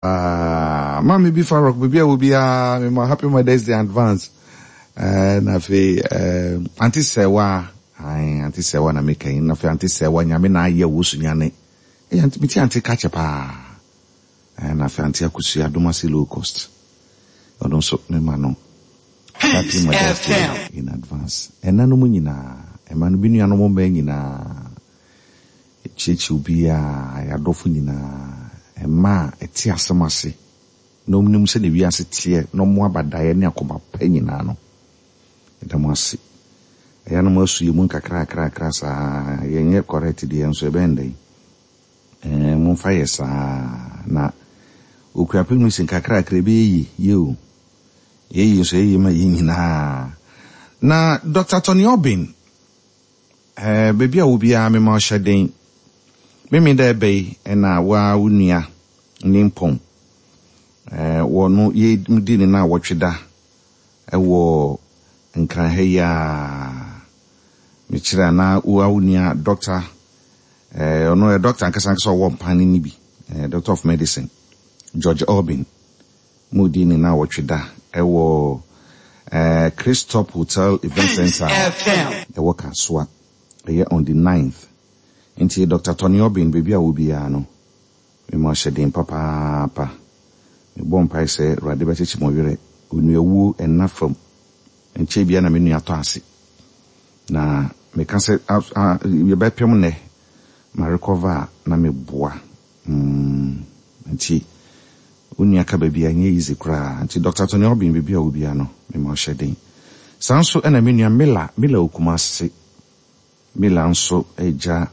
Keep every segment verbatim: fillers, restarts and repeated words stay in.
Uh, Mami bi Farok, baabi a wɔ biara, mema happy Mother's Day advance. Uh, na afei, uh, Auntie Sewa, aye, Auntie Sewa na meka yi, na afei Auntie Sewa, Nyame na ayɛ wo so nyane. Eh, Auntie, meti Auntie kakyɛ paa. Eh, na afei Auntie Akosua, Adomase low cost. Ɔno nso, mema no happy Mother's Day in advance. Ɛna no mu nyinaa, ɛma no bi nuanom mmaa nyinaa, kyerɛkyerɛ obiara, yɛadɔfo nyinaa, mmaa a ɛte asɛm ase, na ɔmo sɛ ne wiase teɛ, na ɔmo abadaeɛ ne akoma pa nyinaa no, ɛda mo ase. Ɛyɛ no mo asu yɛ mu nkakrakrakra saa, yɛnyɛ correct deɛ nso ɛbɛn dɛn. Ɛɛ, momfa yɛ saa, na Okuapem no si nkakrakra ɛbɛyɛ yie, yie o. Yɛyi nso yɛyi ma yɛ nyinaa. Na Doctor Tony Obin, ɛɛ, baabi a wo biara mema ɔhyɛ den. Mimi dɛ ɛbɛ yi ɛna waa wo nua ne mpɔn. Ɛɛ, wɔ no yɛ di ne na wɔtwe da ɛwɔ Nkran ha yi a mekyerɛ a na wo wo nua doctor, ɛɛ, ɔno yɛ doctor ankasa ankasa ɔwɔ mpan ne bi, ɛɛ, doctor of medicine, George Obin. Mo di ne na wɔtwe da ɛwɔ ɛɛ Christop Hotel Event Center ɛwɔ Kasoa. Ɛyɛ on the ninth. Nti Doctor Tony Obin, baabi a wo biara no, mema ɔhyɛ den papaapa. Mebɔ mpae sɛ Awurade bɛkyekyɛ mo werɛ. Onuawuo ɛnna fam. Nkyɛn bia na me nua tɔ ase. Na meka sɛ yɛbɛpem nnɛ ma recover a na meboa. Mm, nti wo nua ka baabi a ɛnyɛ easy koraa. Nti Doctor Tony Obin, baabi a wo biara no, mema ɔhyɛ den. Saa nso ɛna me nua Mila, Mila Okumase. Mila nso agya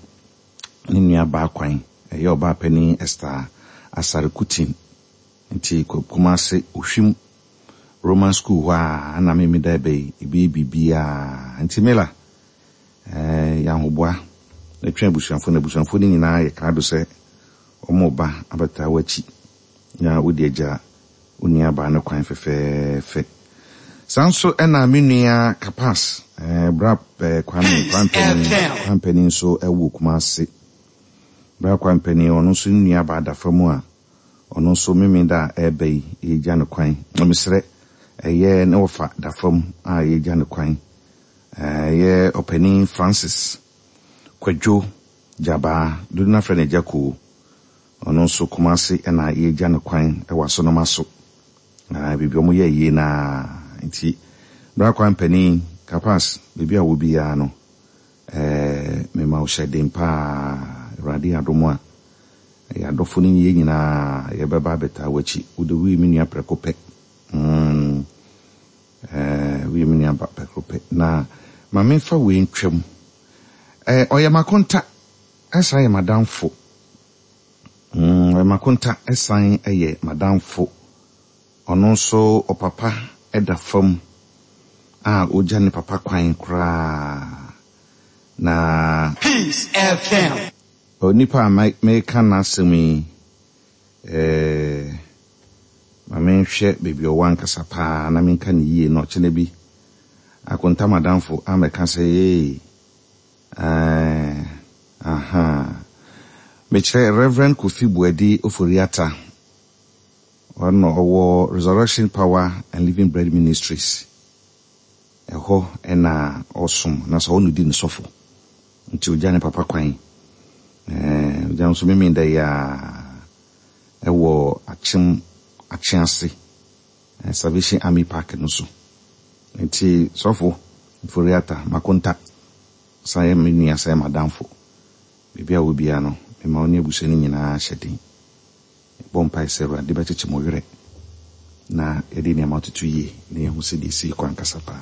ne nua baa kwan, ɛyɛ ɔbaa panin Esther Asare Kutin. Nti Kumase Ohwim Roman School hɔ a na me da ɛbɛ yi, ebi biribiara. Nti Mila, ɛɛ, yɛahoboa na twɛn abusuafo, na abusuafo no nyinaa yɛ krado sɛ wɔn ba abɛtaa w'akyi na wode agya wo nua baa no kwan fɛfɛɛfɛ. Saa nso ɛna me nua Kapas, ɛɛ, bra ɛɛ, Kwame Kwampani, Kwampani nso ɛwɔ Kumase. Bra Kwampani, ɔno nso ne nua baa da fam a ɔno nso meme da a ɛreba yi yɛgya no kwan. Na mesrɛ, ɛyɛ ne wɔfa da fam a yɛgya no kwan. Ɛyɛ ɔpanin Francis Kwadwo Gyabaa, dodo no afrɛ no Agya Koo. Ɔno nso Kumase ɛna yɛgya no kwan ɛwɔ Asonoma so. Na biribi ɔmo yɛ yie naa. Nti bra Kwampani Kapas, baabi a wɔ biara no, ɛɛ, mema wo hyɛ den paa. Awurade adom a ɛyɛ adɔfo no yɛ nyinaa yɛbɛba abɛtaa w'akyi. Wode woyɛ me nua prɛko pɛ. Mm, ɛɛ, woyɛ me nua ba prɛko pɛ. Na ma memfa wei ntwam. Ɛɛ, ɔyɛ m'akonta, ɛsan yɛ m'adamfo. Mm, ɔyɛ m'akonta, ɛsan yɛ m'adamfo. Ɔno nso ɔpapa ɛda fam a ogya ne papa kwan koraa. Na Peace F M. onipa a meka n'asɛm yi, ɛɛ, ma menhwɛ baabi a ɔwɔ ankasa paa na menka ne yie na ɔkyena bi akonta madamfo amɛka sɛ ee, ɛɛ, aha. Mekyerɛ Reverend Kofi Buadi Oforiata. Ɔno ɔwɔ Resurrection Power and Living Bread Ministries. Ɛhɔ ɛna ɔsom na sɛ ɔno di ne sɔfo. Nti ogya ne papa kwan. Ɛɛ, ogya nso mimi da yi a ɛwɔ Akyem Akyease, Salvation Army Park no so. Nti sɔfo Oforiata makonta san yɛ me nua, san yɛ m'adamfo. Baabi a wɔ biara no, mema wo ne abusua no nyinaa hyɛ den. Bɔ mpae sɛ Awurade bɛkyekyɛ mo werɛ na yɛde nneɛma atoto yie na yɛhu sɛ deɛ ɛsii kɔ ankasa paa.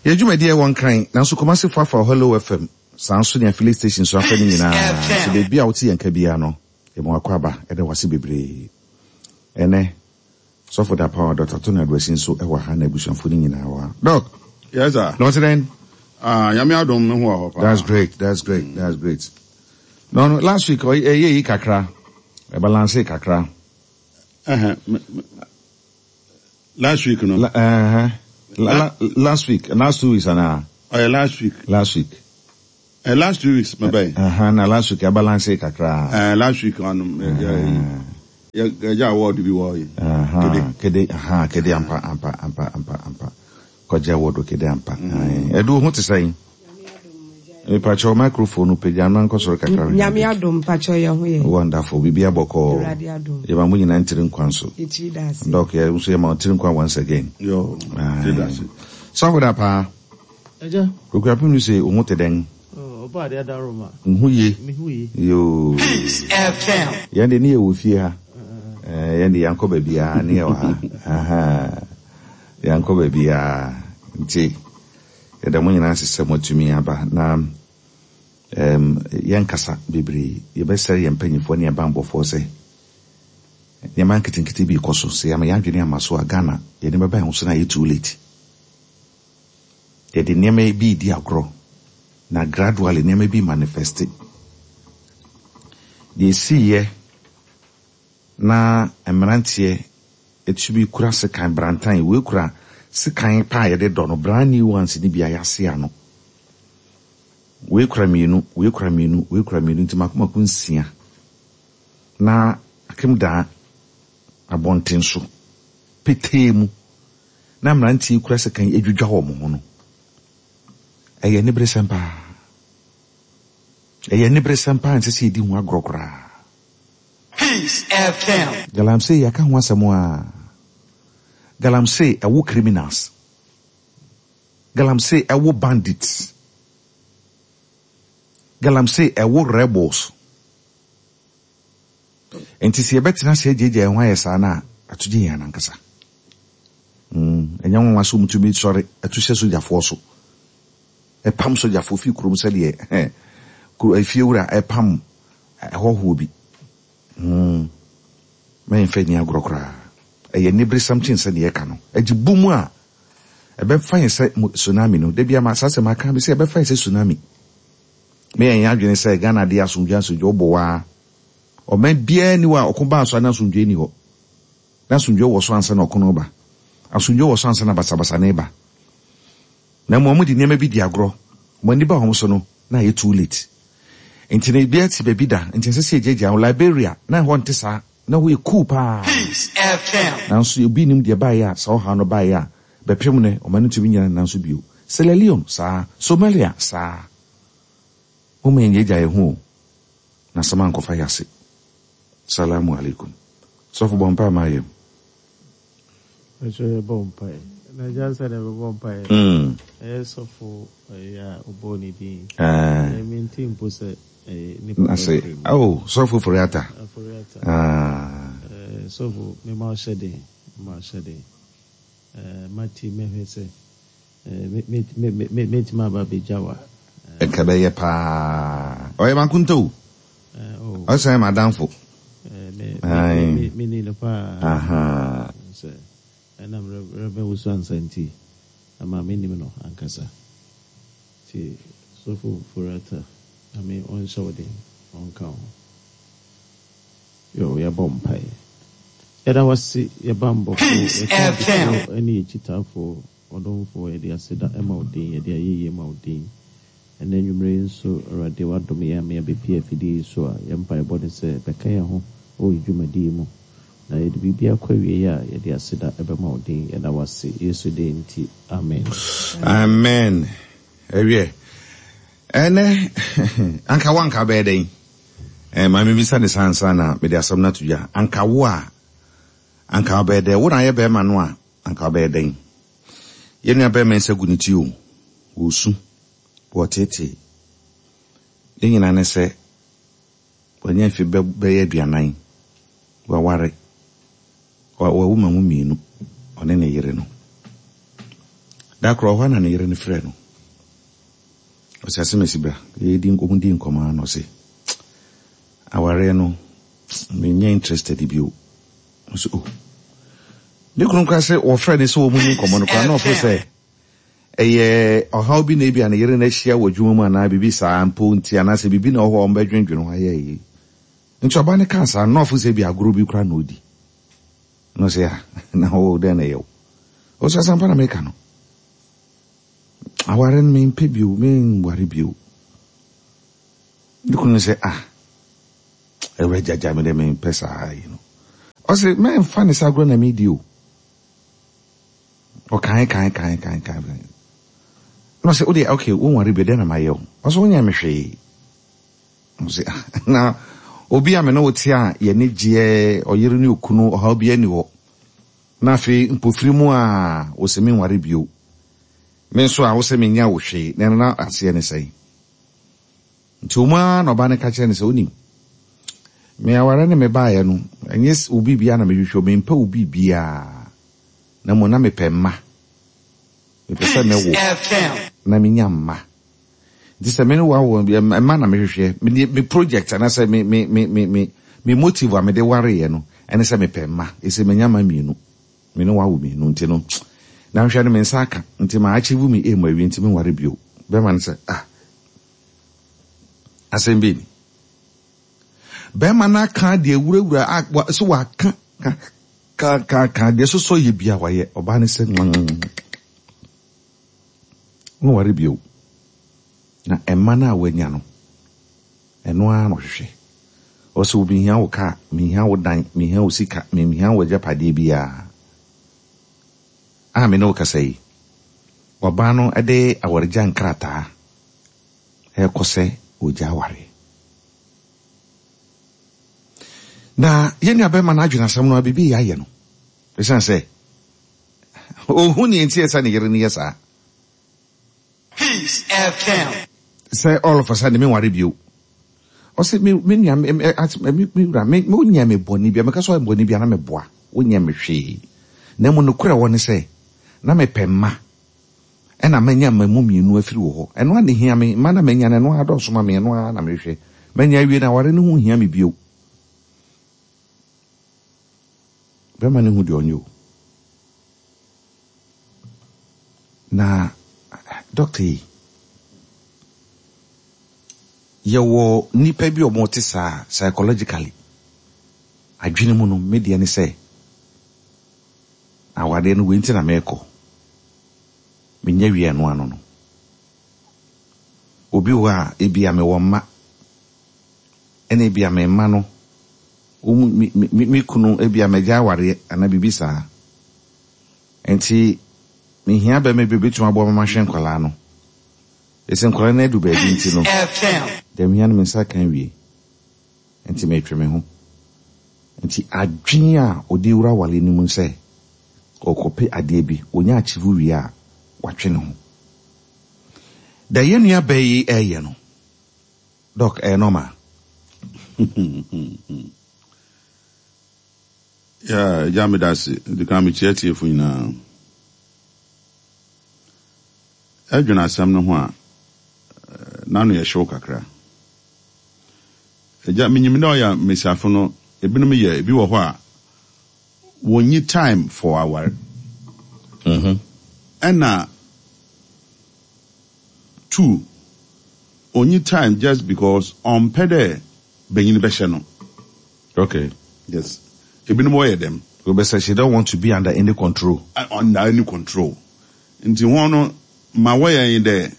Yɛn dwumadie wɔ Nkran, nanso Kumase fo afa Hello F M. Saa nso ne affiliate station so afa no nyinaa. So baabi a wote yɛn ka biara no, yɛma wakɔ aba, ɛda wase bebree. Ɛnɛ sɔfo da power Doctor Tony Aduasi nso ɛwɔ ha na abusuafo no nyinaa wɔ ha. Doc. Yes, sir. Na ɔte dɛn? Ah, Nyame adom, me ho wɔ hɔ paa. That's great. That's great. That's great. No, no, last week ɛyɛ yi kakra. Ɛbalance kakra. Uh-huh. Last week no. La, uh-huh. La, la, last week, last two weeks ana. Oh, yeah, last week. Last week. Uh, last two weeks, my boy. Uh-huh. Na last week ɛbalance kakra. Uh, last week on. Uh, yeah, Yɛgya award bi wɔ yi. Aha, Kede, aha, Kede ampa, ampa, ampa, ampa, ampa. Kɔgye award wɔ Kede ampa. Ɛdu ho te sɛn? Mepakyɛw microphone no pagya no ankɔ soro kakra. Nyame adom, mpakyɛw, yɛ ho yɛ. Wonderful. Biribi abɔkɔɔ. Awurade adom. Yɛma mo nyinaa ntiri nkwan so. Yɛkyiri da ase. Doc, yɛ nso yɛma wo tiri nkwan once again. Yo, tiri da ase. Sɔfo da paa. Agya. Okuapem no sɛ wo ho te dɛn? Ɔba ade adaroma. Nhu ye. Mehu ye. Yo. Peace F M. Yɛn de ne yɛ wɔ fie ha. Eh, yɛn de yɛnkɔ baabiara ne yɛ wɔ ha. Aha. Yɛnkɔ baabiara. Nti yɛda mo nyinaa ase sɛ moatumi aba na um, yɛnkasa bebree. Yɛbɛsrɛ yɛn mpanyinfoɔ ne yɛn bambɔfoɔ sɛ nneɛma nketenkete bi kɔ so sɛ yɛama yɛn adwene ama so a, Ghana yɛde bɛba yɛn ho so na ayɛ too late. Yɛde nneɛma bi di agorɔ na gradually nneɛma bi manifest. Deɛ esiiɛ na mmeranteɛ etumi kura sekan brantan, wei kura sekan paa a yɛde dɔ no, brand new ones ni bi a yɛase ano. Wei kura mmienu, wei kura mmienu, wei kura mmienu, nti mako mako nsia na akem daa abɔnten so petee mu na mmeranteɛ kura sekan edwidwa wɔn ho no, ɛyɛ aniberesɛm paa. Ɛyɛ aniberesɛm paa, nsɛ sɛ yɛdi ho agorɔ koraa. Peace F M. Galamsey, yɛaka ho asɛm a, galamsey ɛwo criminals, galamsey ɛwo bandits, galamsey ɛwo rebels. Nti sɛ yɛbɛtena sɛ agyagya yɛn ho ayɛ saa no a, ato gye yɛn anankasa. Mm, ɛnyɛ nwanwa sɛ ɔmutumi sɔre ɛto hyɛ sogyafoɔ so, ɛpam sogyafoɔ fi kurom sɛdeɛ kuro efie wura ɛpam ɛhɔhoɔ bi. mm. Mɛmfa ni agorɔ koraa. Ɛyɛ aniberesɛm kyen sɛ deɛ ɛka no agye bu mu a ɛbɛfa yɛn sɛ tsunami no. Da bi ama saa sɛ maka bi sɛ ɛbɛfa yɛn sɛ tsunami. Meyɛ yɛn adwene sɛ Ghana de asomdwe, asomdwe wobɔ waa. Ɔman biara ni hɔ a ɔko baa so a na asomdwe ni hɔ. Na asomdwe wɔ so ansa na ɔko no ba, asomdwe wɔ so ansa na basabasa ne ba. Na mmom ɔmo de nneɛma bi di agorɔ, mo ani ba wɔn so no na ayɛ too late. Nti na ebi ati baabi da nti nsɛ sɛ yɛgyagya ho. Liberia na ɛhɔ nte saa, na hɔ yɛ cool paa. Peace F M. Nanso obi nim deɛ baeɛ a saa ɔhaw no baeɛ a bɛpem ne ɔma no ntumi nyina. Nanso bio, Sierra Leone saa, Somalia saa. Moma yɛn gyagya yɛn ho o na asɛm ankɔfa yɛ ase. Salamu alaikum. Sɔfo, bɔ mpa ma yɛm. Ɛkyɛ yɛbɔ mpaeɛ. Na agya nsa na yɛbɛbɔ mpaeɛ. Mm. Ɛyɛ sɔfo ɛyɛ a ɔbɔɔ ne din. Eh, Ɛmi mpo sɛ ɛyɛ nipa na sɛ bɛfiri mu. Oh, sɔfo Foriata. Aforiata. Ah. Ɛɛ, sɔfo, mema ɔhyɛ den, mema ɔhyɛ den. Ɛɛ, mati mɛhwɛ sɛ ɛɛ me me me me mɛtumi aba abɛgya wa. Ɛka bɛyɛ paa, ɔyɛ mankonta o. Ɛɛ oh. Ɔsan yɛ madamfo. Ɛɛ me Aye. me me me ni no paa. Aha. Sɛ ɛnam Reverend Wusu ansa nti ama me nim no ankasa. Ti sɔfo Foriata, Nyame ɔnhyɛ wo den, ɔnka ho. Yo, yɛbɔ mpaeɛ. Yɛda wase, yɛba mbɔfo, Peace F M. yɛkamfoɔ ne yɛkyitaafoɔ, ɔdomfoɔ, yɛde aseda ɛma wo din, yɛde ayɛyie ma wo din. Ɛnɛ nnwumere yi nso, Awurade, wadom yɛn ama yɛabɛpie afidie yi so a yɛn mpaebɔ ne sɛ bɛka yɛn ho wɔ yɛ dwumadie yi mu na yɛde biribi akɔ awie a yɛde aseda ɛbɛma wo din. Yɛda wase Yesu din nti, amen. Amen. Ɛwiɛ, ɛnɛ anka wo anka bɛyɛ dɛn? Eh, maame bisa ne saa ansa na mede asɛm no ato dwa. Anka wo a anka wobɛyɛ dɛn? Wo na ayɛ bɛrima no a, anka wobɛyɛ dɛn? Yɛn nua bɛrima nsa gu ne ti o, wɔsu, wɔtetee ne nyinaa ne sɛ wanya mfe bɛ- bɛyɛ aduanan, waware, wa- wawu ma mu mmienu, ɔne ne yere no. Da korɔ hɔ a na ne yere no frɛ no, ɔsɛ asɛm asi bra. Yɛdi ɔmu di nkɔmmɔ a na ɔse awareɛ no menyɛ interested bio. Ɔsɛ oh, ne kunu koraa sɛ wɔfrɛ ne sɛ wɔ mu ni nkɔmmɔ no koraa na ɔfo sɛ ɛyɛ ɔhaw bi na ebi a ne yere no ahyia wɔ adwuma mu anaa biribi saa mpo nti, anaasɛ biribi na ɔhɔ a ɔmbɛdwendwene ho ayɛ yi. Nti ɔba ne kaa saa na ɔfo sɛ bi agorɔ bi koraa na ɔdi na ɔsɛ a na ɔwɔ dɛn na ɛyɛ wo. Ɔsɛ asampa na meka no, aware no mempɛ bio, menware bio. Ne kunu no sɛ ah, ɛwura gyagya me dɛ mempɛ saa yi no. Ɔsɛ mɛmfa ne sa agorɔ na medi o. Ɔkan kan kan kan kan. Na ɔsɛ wode okay wonware bi dɛn na mayɛ wo? Ɔsɛ wonyɛ me hwee. Ɔsɛ ah na obi a me ne wo te a yɛne gyeɛ ɔyere ne okunu ɔhaw bi ani hɔ. Na afei mpofiri mu a wɔsɛ menware bio. Me nso a wosɛ menya wo hwee na ɛno na aseɛ ne sɛn. Nti ɔmu ara na ɔba no ka kyerɛ no sɛ wonim me aware ne me baeɛ no ɛnyɛ wo biribiara na mehwehwɛ mempɛ wo biribiara na mmom na mepɛ mma. Mepɛ sɛ mewo na menya mma. Nti sɛ me ne wo awo mma na mehwehwɛ me me project anaasɛ me me me me me me motive a mede wareɛ no ɛne sɛ mepɛ mma. Ɛsɛ menya mma mmienu. Me ne wo awo mmienu nti no na nhwɛ no me nsa aka nti ma achieve me aim awie nti menware bio. Bɛrima no sɛ ah asɛm bi ni. Bɛrima no aka deɛ wurawura a so waka ka ka ka ka deɛ sosɔ yɛ bia wayɛ ɔbaa no sɛ nware bio. Na ɛma no a wanya no ɛno ara na ɔhwehwɛ. Ɔsɛ wo mehia wo kaa, mehia wo dan, mehia wo sika, mehia wo agyapadeɛ biara. A me ne wo kasa yi, ɔbaa no de awaregya nkrataa ɛrekɔ sɛ ogya aware. Na yɛn nua bɛrima no adwene asɛm no a biribi yɛ ayɛ no. Ɛsiane sɛ ohun ne nti ɛsɛ ne yere no yɛ saa. Peace F M. Sɛ all of a sudden me nware bio. Ɔsɛ me me nua me me me me wura me me wonyɛ me bɔne bia meka sɛ ɔyɛ bɔne bia na meboa wonyɛ me hwee. Na mmom nokorɛ wɔ ne sɛ na mepɛ mma ɛna manya mma mu mmienu afiri wɔ hɔ. Ɛno a ne hia me mma na manya no ɛno ara dɔɔso ma me ɛno ara na mehwɛ. Manya awie na aware no ho hia me bio. Bɛrima no hu deɛ ɔnyɛ o. Na doctor yi yɛwɔ nnipa bi a wɔte saa psychologically adwene mu no me deɛ ne sɛ awadeɛ no wei nti na merekɔ menya wie ɛno ano no obi wɔ a ebi a mewɔ mma ɛna ebi a me mma no wɔn me me me kunu ebi a magya awareɛ anaa biribi saa nti mehia bɛrima bi a obetumi aboa ma mahwɛ nkwadaa no esi nkwadaa no adu baabi nti no deɛ mehia no me nsa kan wie nti metwe me ho nti adwene a ɔde wura aware no mu sɛ ɔkɔpɛ adeɛ bi onya achieve wie a watwe ne ho da yɛn nua bɛɛ yi ɛɛyɛ no doc ɛyɛ normal. Yeah, agya meda ase. Di kan mekyia tiefo nyinaa. Ɛdwene asɛm no ho a n'ano yɛ hyew kakra. Agya menyim dɛ ɔyɛ mmesiafo no ebinom yɛ ebi wɔ hɔ a wɔnyi time for aware. Mm-hmm. Ɛna two onyi time just because ɔmpɛ dɛ benyin bɛhyɛ no. Okay. Yes. Ebinom wɔyɛ dɛm. Obi sɛ she don't want to be under any control. Uh, under any control. Nti wɔn no ma wɔyɛ yi dɛ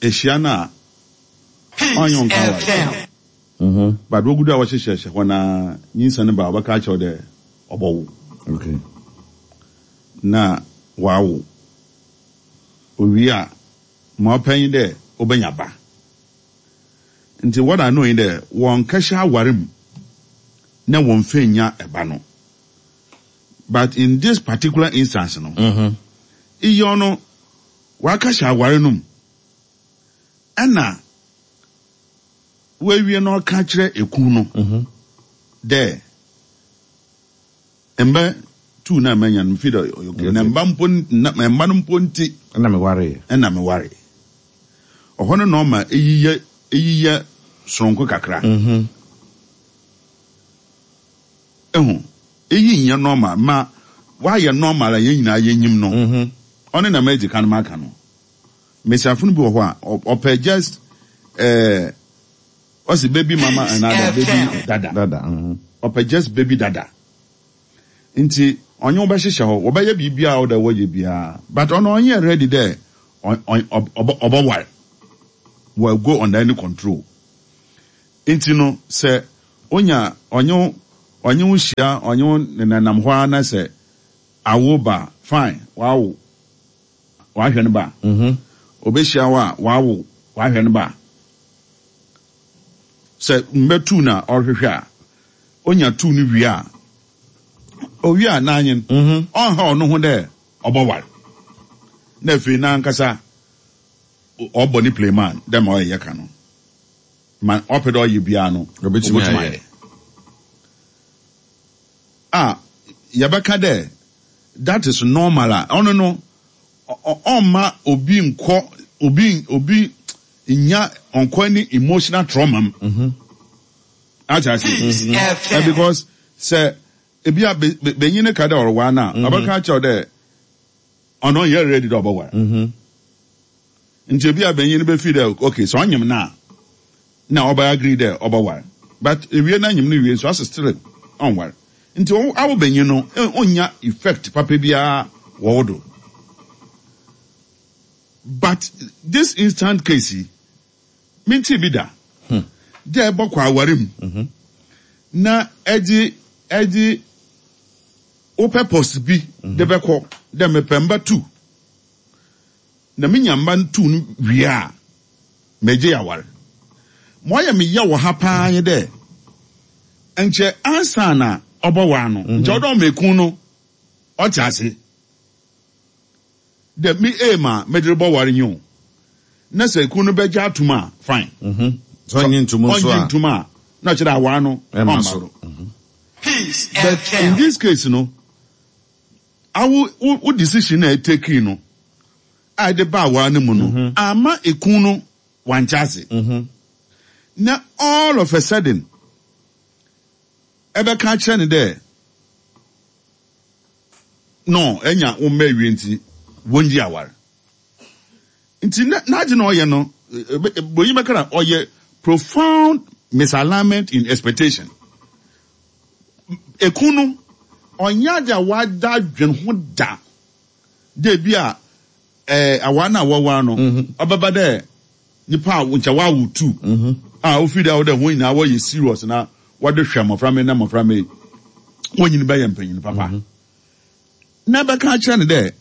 ehyia no a ɔnyɛ nka aware. Mm-hmm. But wogudu a wɔhyehyɛhyɛ hɔ na nyinsa no ba a wɔbɛka akyerɛw dɛ ɔbɔwo. Okay. Na wawo. Owie a ma ɔpɛ yi dɛ ɔbɛnya ba. Nti what I know yi dɛ wɔn kɛhyɛ aware mu na wɔn fɛ nya ɛba no. But in this particular instance no, Mm-hmm. iye ɔno wakahyɛ aware no mu ɛna wawie na ɔka kyerɛ eku no Mm-hmm. dɛ mba tu na manya no fi dɛ ɔyɛ okay na mba mpo na mba no mpo nti Ɛna me ware. ɛna me ware ɔhɔ no na ɔma eyi yɛ eyi yɛ soronko kakra. Mm-hmm. Ehu eyi nyɛ normal ma wayɛ normal a yɛn nyinaa yɛnyim no. Mm-hmm. Ɔne na mɛgye kan maka no mmesiafo no bi wɔ hɔ a ɔ- ɔpɛ just ɛɛ ɔsi baby mama anaa baby dada. Dada. Mm-hmm. Ɔpɛ just baby dada nti ɔnye wo bɛhyehyɛ hɔ wɔbɛyɛ biribiara a ɔda wɔyɛ biara but ɔno ɔnyɛ ready dɛ ɔ- ɔ- ɔ- ɔbɛware will go under any control nti no sɛ onya ɔnye wo Ɔnye wo hyia, ɔnye wo nenam hɔ ara na sɛ awo ba, fine, wawo, wahwɛ no ba. Obehyia wo a, wawo, wahwɛ no ba. Sɛ mbɛtu na ɔrehwehwɛ a, onya tu no wie a, owie a n'anyen, ɔnha ɔno ho dɛ ɔbɔware. Na afei n'ankasa ɔbɔ ne playman dɛ ma ɔyɛ yɛka no. Ma ɔpɛ dɛ ɔyɛ biara no, Obetumi ayɛ. A yɛbɛka dɛ that is normal a ɔno no ɔmma obi nkɔ obi obi nya ɔnkɔ ne emotional trauma mu. Ate ase. Peace Eh, because sɛ ebi a be be benyin ne ka dɛ ɔreware no a, ɔbɛka akyerɛw dɛ ɔno ɔnyɛ ready dɛ ɔbɛware. Nti ebi a benyin no bɛfi dɛ okay, sɛ ɔnyem no a na ɔbɛ agree dɛ ɔbɛware, but ewie na nyem no wie nso ase still ɔnware. Nti ɔwo awo benyin no eh, ɔnya effect papa biara wɔ wo do. But this instant case yi, minti bi da dɛ ɛbɔkɔ aware mu na ɛgye ɛgye wo purpose bi de bɛkɔ dɛ mepɛ mba two, na menya mba two no wie a, megye aware. Ma ɔyɛ me yɛ wɔ ha paa nye dɛ nkyɛ ansa na ɔbɔwaa no, nkyɛ ɔdɔ ɔma no ɔte ase dɛ me aim a mede rebɔware nye o, na sɛ ekun no bɛgye atom a, fine. Sɛ ɔnye ntom nso ɔngye a, ntom a, na ɔkyerɛ aware no ɛma ɔmma so. do. Peace But in F M. this case no, awo wo wo decision na ɛtake no a ɛde ba aware no mu no ama ekun no wankyɛ ase, na all of a sudden ɛbɛka akyerɛ ne dɛ no ɛnya wo mma awie nti wɔngye aware. Nti na n'agye na ɔyɛ no, bonyi bɛka na ɔyɛ profound misalignment in expectation. Ekun no ɔnyɛ ade a wada adwene ho da dɛ bi a ɛɛ aware no a wɔware no ɔbɛba dɛ nipa a nkyɛ wawo two a ofi dɛ ɔdɛ wɔn nyinaa wɔyɛ serious na wɔde hwɛ mmɔfra mi na mmɔfra mi wɔn nyini bɛyɛ mpanyin papa, na bɛka akyerɛ no dɛ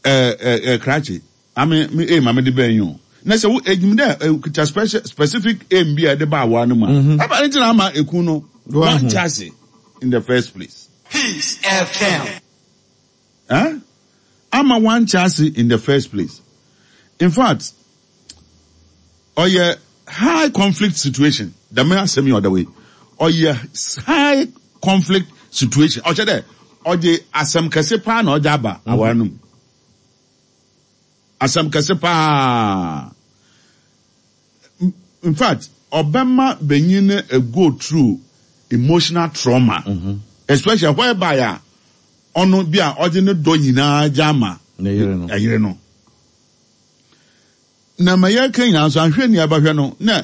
ɛɛ ɛɛ ɛɛ krakye ame me aim ame de bɛn yi o, na sɛ wo enyim dɛ ekuta special specific aim bi a ɛde ba aware no mu a, ɛba ne gyina ama ekun no wɔnkyɛ ase in the first place. Peace F M. Eh? Ama wankyɛ ase in the first place. In fact, ɔyɛ high conflict situation. Dɛm asɛm yi ɔda wei, ɔyɛ high conflict situation. Ɔkyɛ dɛ ɔde asɛm kɛse paa na ɔde aba aware no mu, asɛm kɛse paa. In fact, ɔbɛma benyin no a go through emotional trauma, especially whereby a ɔno bi a ɔde ne dɔ nyinaa gya ama ne yere no. Ɛyere no na ma yɛka nyinaa nso ahwɛ nea ɛbɛhwɛ no na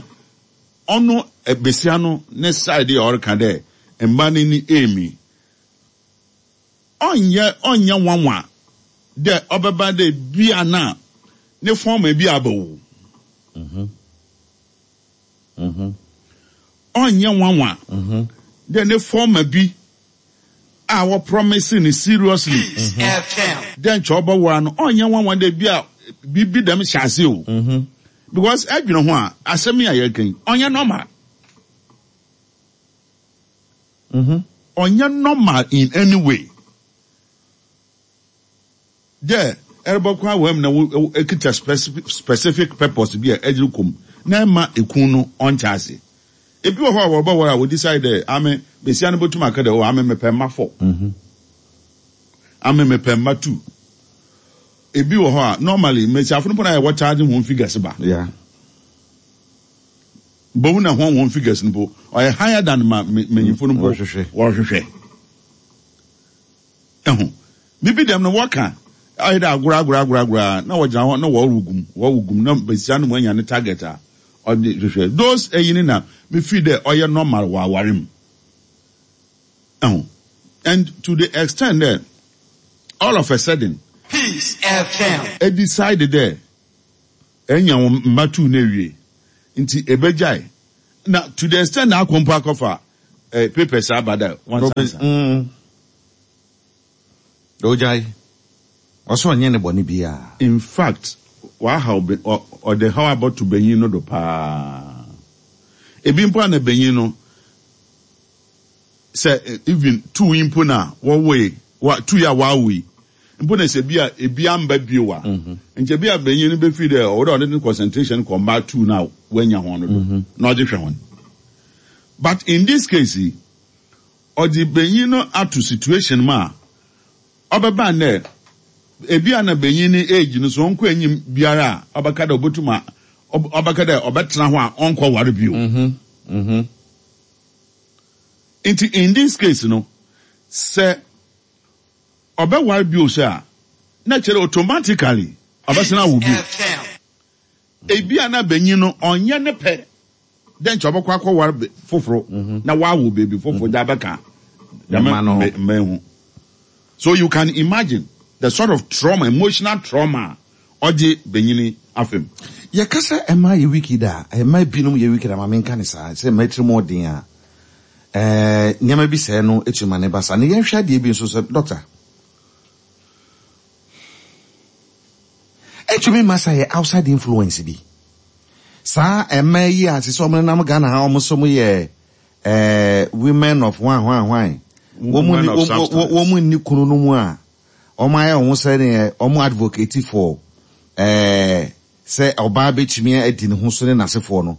ɔno besia no ne side a ɔreka dɛ mba no ni emi ɔnyɛ ɔnyɛ nwanwa dɛ ɔbɛba dɛ bia na ne fɔm bi abɛwo. Ɔnyɛ nwanwa dɛ ne fɔm bi a wɔ promise ne seriously Peace F M. dɛ nkyɛ ɔbɛwara no, ɔnyɛ nwanwa dɛ bi a biribi dɛm hyɛ ase o, because ɛdwene ho a, asɛm yi a yɛreka yi ɔnyɛ normal, ɔnyɛ normal in any way dɛ ɛrebɛkɔ awam na wo wo- ekita specific specific purpose bi a ɛgyere kɔm na ɛma ekun no ɔnkyɛ ase. Ebi wɔ hɔ a wɔbɛwara a wɔdecide dɛ ame besia no bɛtum aka dɛ o, ame mepɛ mma four, ame mepɛ mma two. Ebi wɔ hɔ a normally mmesiafo no po na yɛ wɔcharge wɔn figures ba. Yeah. Bohu na wɔn wɔn figures no po ɔyɛ higher than ma mmenyinfo no po. Wɔhwehwɛ. Wɔhwehwɛ ɛho bibi dɛm no, wɔka ayɛ dɛ agorɔ agorɔ agorɔ agorɔ na wɔgyina hɔ na wɔrewo gum, wɔrewo gum na besia no mu anya ne target a ɔde hwehwɛ. Those ɛyi ne na me feel dɛ ɔyɛ normal wɔ aware mu ɛho, and to the extent that all of a sudden Peace F M. e decide dɛ ɛnya wɔn mma two na ewie nti ebegyae, na to the extent na akɔ mpo akɔfa eh, papers aba dɛ wɔnsansa. Mm. Ogyae. Ɔsɛ ɔnyɛ ne bɔne biara. In fact, wahaw be ɔ ɔde haw abɔto benyin no do paa. Ebi mpo a na benyin no sɛ eh, even two yi mpo na wɔwoe wa two yi a wɔawo yi mpo na sɛ bi a ebi amba bio a nkyɛ bi a benyin no bɛfiri dɛ ɔwɔ dɛ ɔde ne concentration kɔ mmaa two na wanya wɔn no do na ɔde hwɛ wɔn. But in this case yi, ɔde benyin no ato situation mu a ɔbɛba nnɛ ebi a na benyin ne age no so ɔnkɔ enyim biara a ɔbɛka dɛ ɔbɛtum a ɔb- ɔbɛka dɛ ɔbɛtena hɔ a ɔnkɔ ware bio. Nti in this case no, sɛ ɔbɛware bio sɛ a, na kyerɛ automatically ɔbɛsena awo bio. F M. Ebi a na benyin no ɔnyɛ ne pɛ dɛ nkyɛ ɔbɛkɔ akɔware be- foforɔ na wawo beebi foforɔ de abɛka dɛm Mma no ho. mbe- mbɛn ho. So you can imagine the sort of trauma, emotional trauma a ɔgye benyin afam. Yɛka sɛ ɛma yɛ wicked a, ɛma binom yɛ wicked a, ma menka ne saa sɛ mma tirim ɔden a ɛɛ nneɛma bi sɛɛ no ɛtumi ma ne ba saa. Na yɛnhwɛ adeɛ bi nso sɛ, doctor, ɛtumi ma sa yɛ outside influence bi saa. Ɛma yi a sɛ sɛ ɔmo nenam Ghana ha, ɔmo nso mo yɛ ɛɛ women of hwan hwan hwan, wɔn mu Women ni of wɔn substance. wɔn mu nni kunu no mu a ɔmo ayɛ wɔn sɛ neɛ ɔmo advocate for ɛɛ sɛ ɔbaa bɛtumi adi ne ho so ne n'asefoɔ no.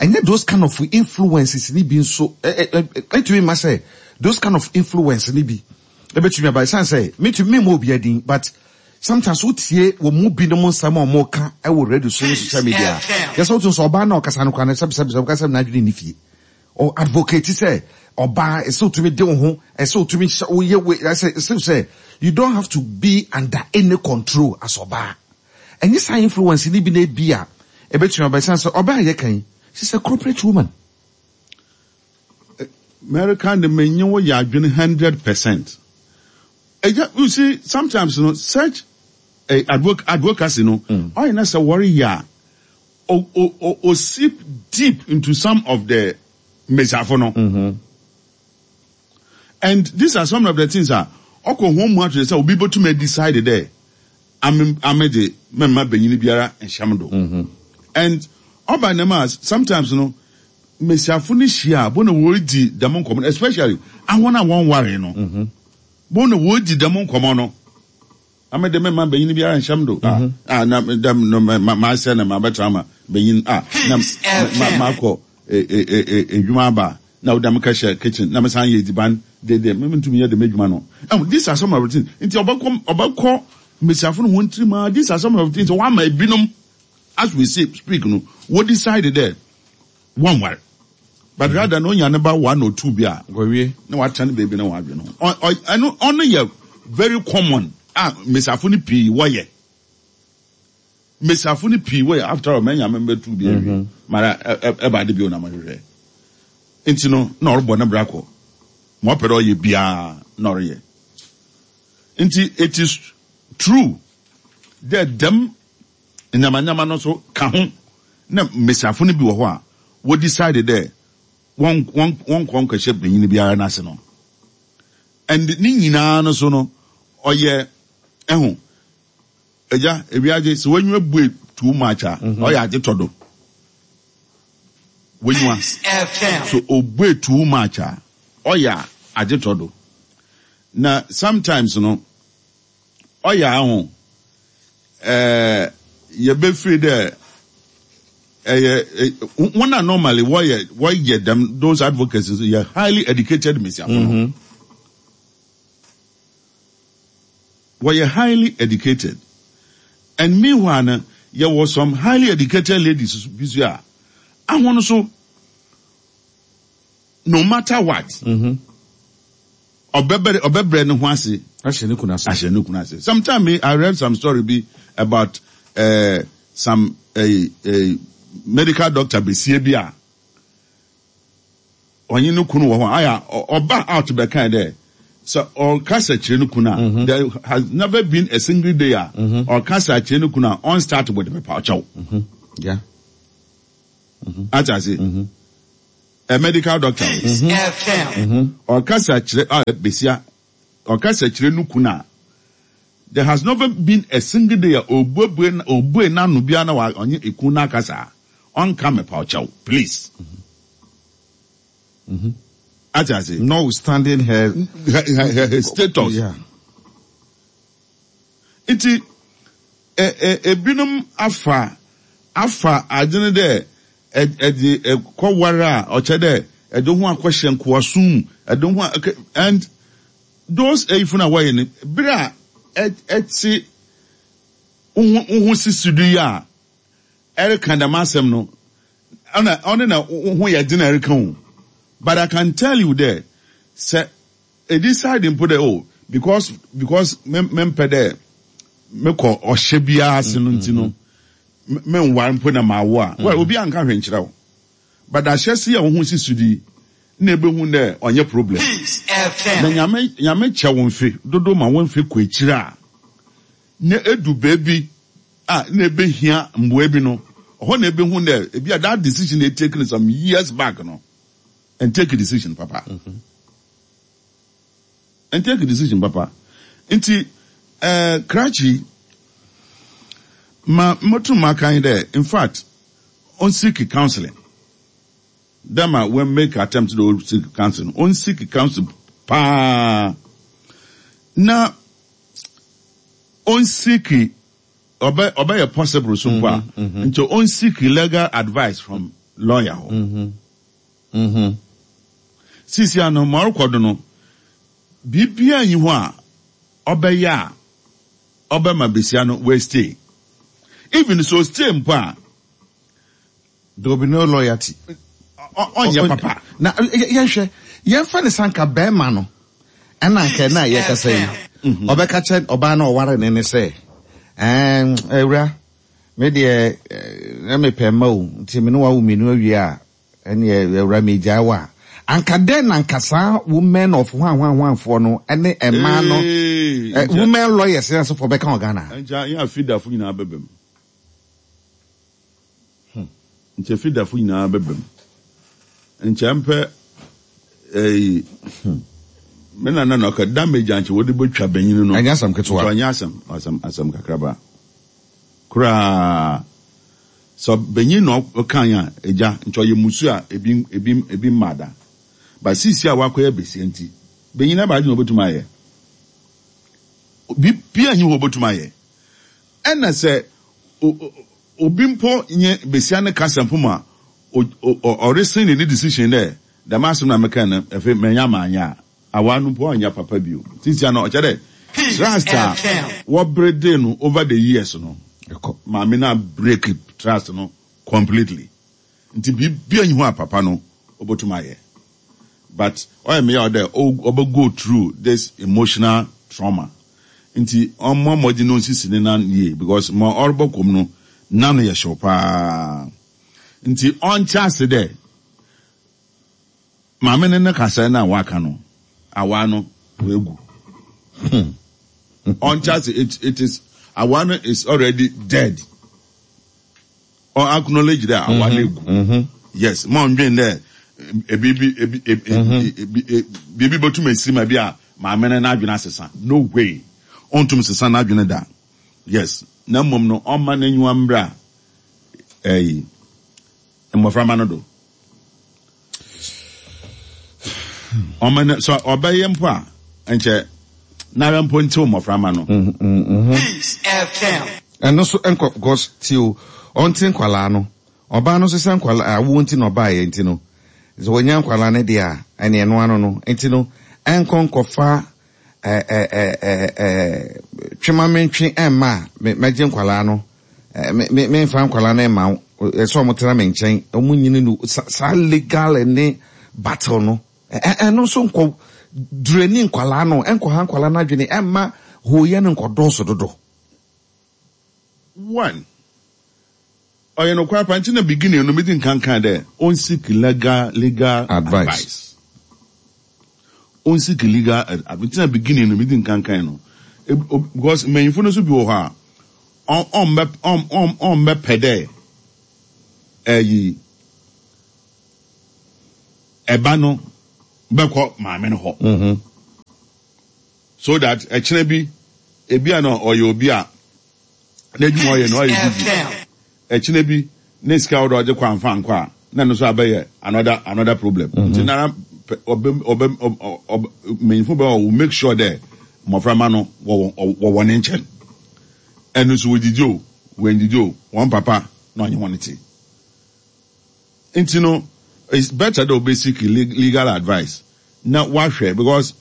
Ɛnyɛ those kind of influences ni bi nso ɛ ɛ ɛ ɛtumi ma sɛ those kind of influence ni bi ɛbɛtumi aba ɛsan sɛ metumi mi ma obi adin, but sometimes wotie wɔn mu binom nsɛm a wɔn ka ɛwɔ radio so ne social media, yɛsɛ wotu nso ɔbaa na ɔkasa no kora no, sɛbi sɛbi sɛbi, ɔkasa n'adwene ne fie, ɔ advocate sɛ ɔbaa ɛsɛ otumi de wo ho, ɛsɛ otumi hyɛ woyɛ we, ɛsɛ ɛsɛ sɛ you don't have to be under any control as ɔbaa. Ɛnyɛ saa influence ni bi na ebi a ɛbɛtumi aba ɛsan sɛ ɔbaa yɛ kan, she's a corporate woman. America de menye wo yɛ adwene hundred percent. Ɛgya, you see, sometimes no such eh, advoc advocacy no, ɔyɛ na sɛ wɔreyɛ a o o o o seep deep into some of the mmesiafo no. And these are some of the things a ɔkɔ ho mu ato sɛ obi bɛtumi decide dɛ ame ame de mɛmma benyin biara nhyɛm do. And ɔba ne ma sometimes no mmesiafo no hyia a bo na wɔredi dɛm nkɔmɔ no, especially ahɔn a wɔn ware no, bo na wɔredi dɛm nkɔmɔ no, ame de mɛmma benyin biara nhyɛm do. Ah ah, na dɛm no ma ma ma asɛ na ma bɛtena ma benyin ah na ma ma akɔ e e e edwuma aba na ɔda me kɛhyɛ kitchen na me san yɛ ediban dede me ntumi yɛ dɛm edwuma no. um, these are some of the things nti ɔbɛkɔ ɔbɛkɔ mmesiafo no wɔn tirim ah. These are some of the things wɔn ama ebinom, as we say speak no, wɔ decide dɛ wɔn ware, but rather no onya ne ba one or two bi a wɔwie na watena ne baabi na wadwene ho. Ɔ- ɔ- ɛno ɔno yɛ very common a mmesiafo no pii wɔyɛ, mmesiafo no pii wɔyɛ. After all, mɛnya mɛ mbɛtu bi awie mara ɛ- ɛ- ɛba ade bi o na mahwehwɛ nti no na ɔrebɔ ne bra kɔ ma ɔpɛ dɛ ɔyɛ biara na ɔreyɛ. Nti it is true dɛ dɛm nyamanyama no nso ka ho na mmesiafo no bi wɔ hɔ a wɔ decide dɛ wɔn wɔn wɔn nkɔ nkɔhyɛ benyin biara n'ase no. And ne nyinaa no so no ɔyɛ ɛho ɛgya ewiagye sɛ wɔnyiwa bue too much a, ɔyɛ agye tɔ do wɔnyiwa Peace F M. So obue too much a, ɔyɛ agye tɔ do. Na sometimes no ɔyɛ aho ɛɛ yɛbɛfiri dɛ ɛyɛ ɛ wɔn a normally wɔyɛ wɔyɛ dɛm those advocates nso yɛ highly educated mmesiafo no. Wɔyɛ highly educated, and meanwhile no yɛwɔ some highly educated ladies bi so a ahɔn so no matter what ɔbɛbrɛ ɔbɛbrɛ ne ho ase ahyɛ ne kunu ase. Ahyɛ ne kunu ase. Sometime me, I read some story bi about uh, some uh, uh, medical doctor besie bi a ɔnye ne kunu wɔ hɔ aya ɔ- ɔba out bɛka dɛ sɛ ɔkasa kyerɛ ne kunu a, there has never been a single day a ɔkasa kyerɛ ne kunu a ɔn start with mepa ɔkyɛw. Yeah. Ate ase? a medical doctor. Peace F M. Ɔkasa kyerɛ a besia ɔkasa kyerɛ no kun a there has never been a single day a obuebue obue n'ano bia na wa ɔnye ekun n'akasa ɔnka mepa ɔkyɛw please. Mm-hmm. Ate ase. Notwithstanding her, her, her, her, her status. Yeah. Nti ebinom afa afa adwene dɛ ɛde ɛkɔware a ɔkyɛ dɛ ɛde ho akɔhyɛ nkoasom ɛde ho and those eyifo na wɔyɛ no bere a ɛte ho sisi do yi a ɛreka dɛm asɛm no ɔna ɔne na ho yɛ den ɛreka ho. But I can tell you there, sɛ decide mpo dɛ oh because because me mempɛ dɛ mekɔ ɔhyɛ biara ase no nti no menware mpo na mawo a well obi anka hwɛ nkyerɛ wo, but ahyɛ se a wo ho sisi di na ebehu dɛ ɔnyɛ problem. Peace F M. Na nyame nyame kyɛ wo mfe dodo ma wo mfe kɔ akyire a na edu baabi a na ebehia mboa bi no ɔhɔ na ebehu dɛ ebi a that decision they taken some years back no and take a decision papa. Mm-hmm. And take a decision papa. Nti eh Krachi ma motu ma kan there in fact on seek counseling. Dama when make attempt to seek counseling on seek counsel pa na on seek obey obey possible so pa mm-hmm. nti on seek legal advice from lawyer. Mm-hmm. Mm-hmm. Sisi ano marko no bibia nyi ho a obeya obema besia no we stay even so stay mpo a there will be no loyalty onye papa na yenhwe yenfa ne sanka be ma no ena nka na ye kasa yi obeka che oba na oware ne ne se eh ewura me de na me pema o nti me no wa wo menu awie a ene ewura me gya wa anka den na nkasa women of one one one four no ene e ma no women lawyers na so for beka Ghana nja ya fidafo nyina bebem hmm nche fidafo nyina bebem nche mpe eh me na na ka damage anche wodi betwa banyin no anya asam ketewa anya asam asam asam kakraba kra so benyin no kan ya eja ncho ye musu a ebi ebi ebi mada ba sisi a wakoye besie nti benyin na ba adi no obetuma ye bi bia nyi ho obetuma ye ena se obi mpo nye besia ne kasampo ma o resin ni decision there the master na meka na efe menya manya awa no mpo anya papa bio sisi na o chere trust wo brede no over the years no maame na break trust no completely nti bibia nyi ho papa no obotuma ye but o me ya there o go through this emotional trauma nti omo moji no sisi ne na ye because mo orbo kom no na no ye show pa nti on chance there maame ne ne kasa na waka no awa no wegu on chance it it is awa no is already dead or acknowledge that awa no egu. Yes mo ndwen there ebi ebi ebi ebi botum esima bi a maame ne na adwene asesa no way ontum sesa na adwene da yes na mom no o ma na nyiwa mbra eh mmofra no do o ma na so obeye mpo a enche na mpo nti mmofra no Peace F M and so enko because tio onti nkwala no oba no sesa nkwala awo nti no ba ye nti no so wonya nkwala ne de a ene eno ano no nti no enko nkofa eh eh eh eh twema mentwe emma me nkwala no me me mfa nkwala na emma so mo tena me nchen omu nyini no sa legal ne battle no eh no so nko dreni nkwala no enko ha nkwala na adwene emma ho ye no nko doso dodo one oye no kwa panchi na beginning no meeting kan kan there on seek legal legal advice, advice. On seek legal advice na beginning no meeting kan kan no because manyifo no so bi wo ha on on on on on be pede eh yi Ɛba no bɛkɔ maame no hɔ. Mm-hmm. So that ɛkyerɛ bi ebi a na ɔyɛ obi a n'adwuma ɔyɛ no ɔyɛ busy. Ɛkyerɛ bi ne sika ɔdɔ ɔgye kɔ anfa nkɔ a na no so abɛyɛ another another problem. Nti nara ɔbɛ ɔbɛ ɔbɛ mmanyinfo bɛ ɔwɔ make sure dɛ mmɔframma no wɔwɔ wɔwɔ ne nkyɛn. Ɛno nso wɔdidi o, wɔndidi o, wɔn papa na ɔnye wɔn te. Nti no, it's better dɛ ɔbɛ seek legal advice na wahwɛ, because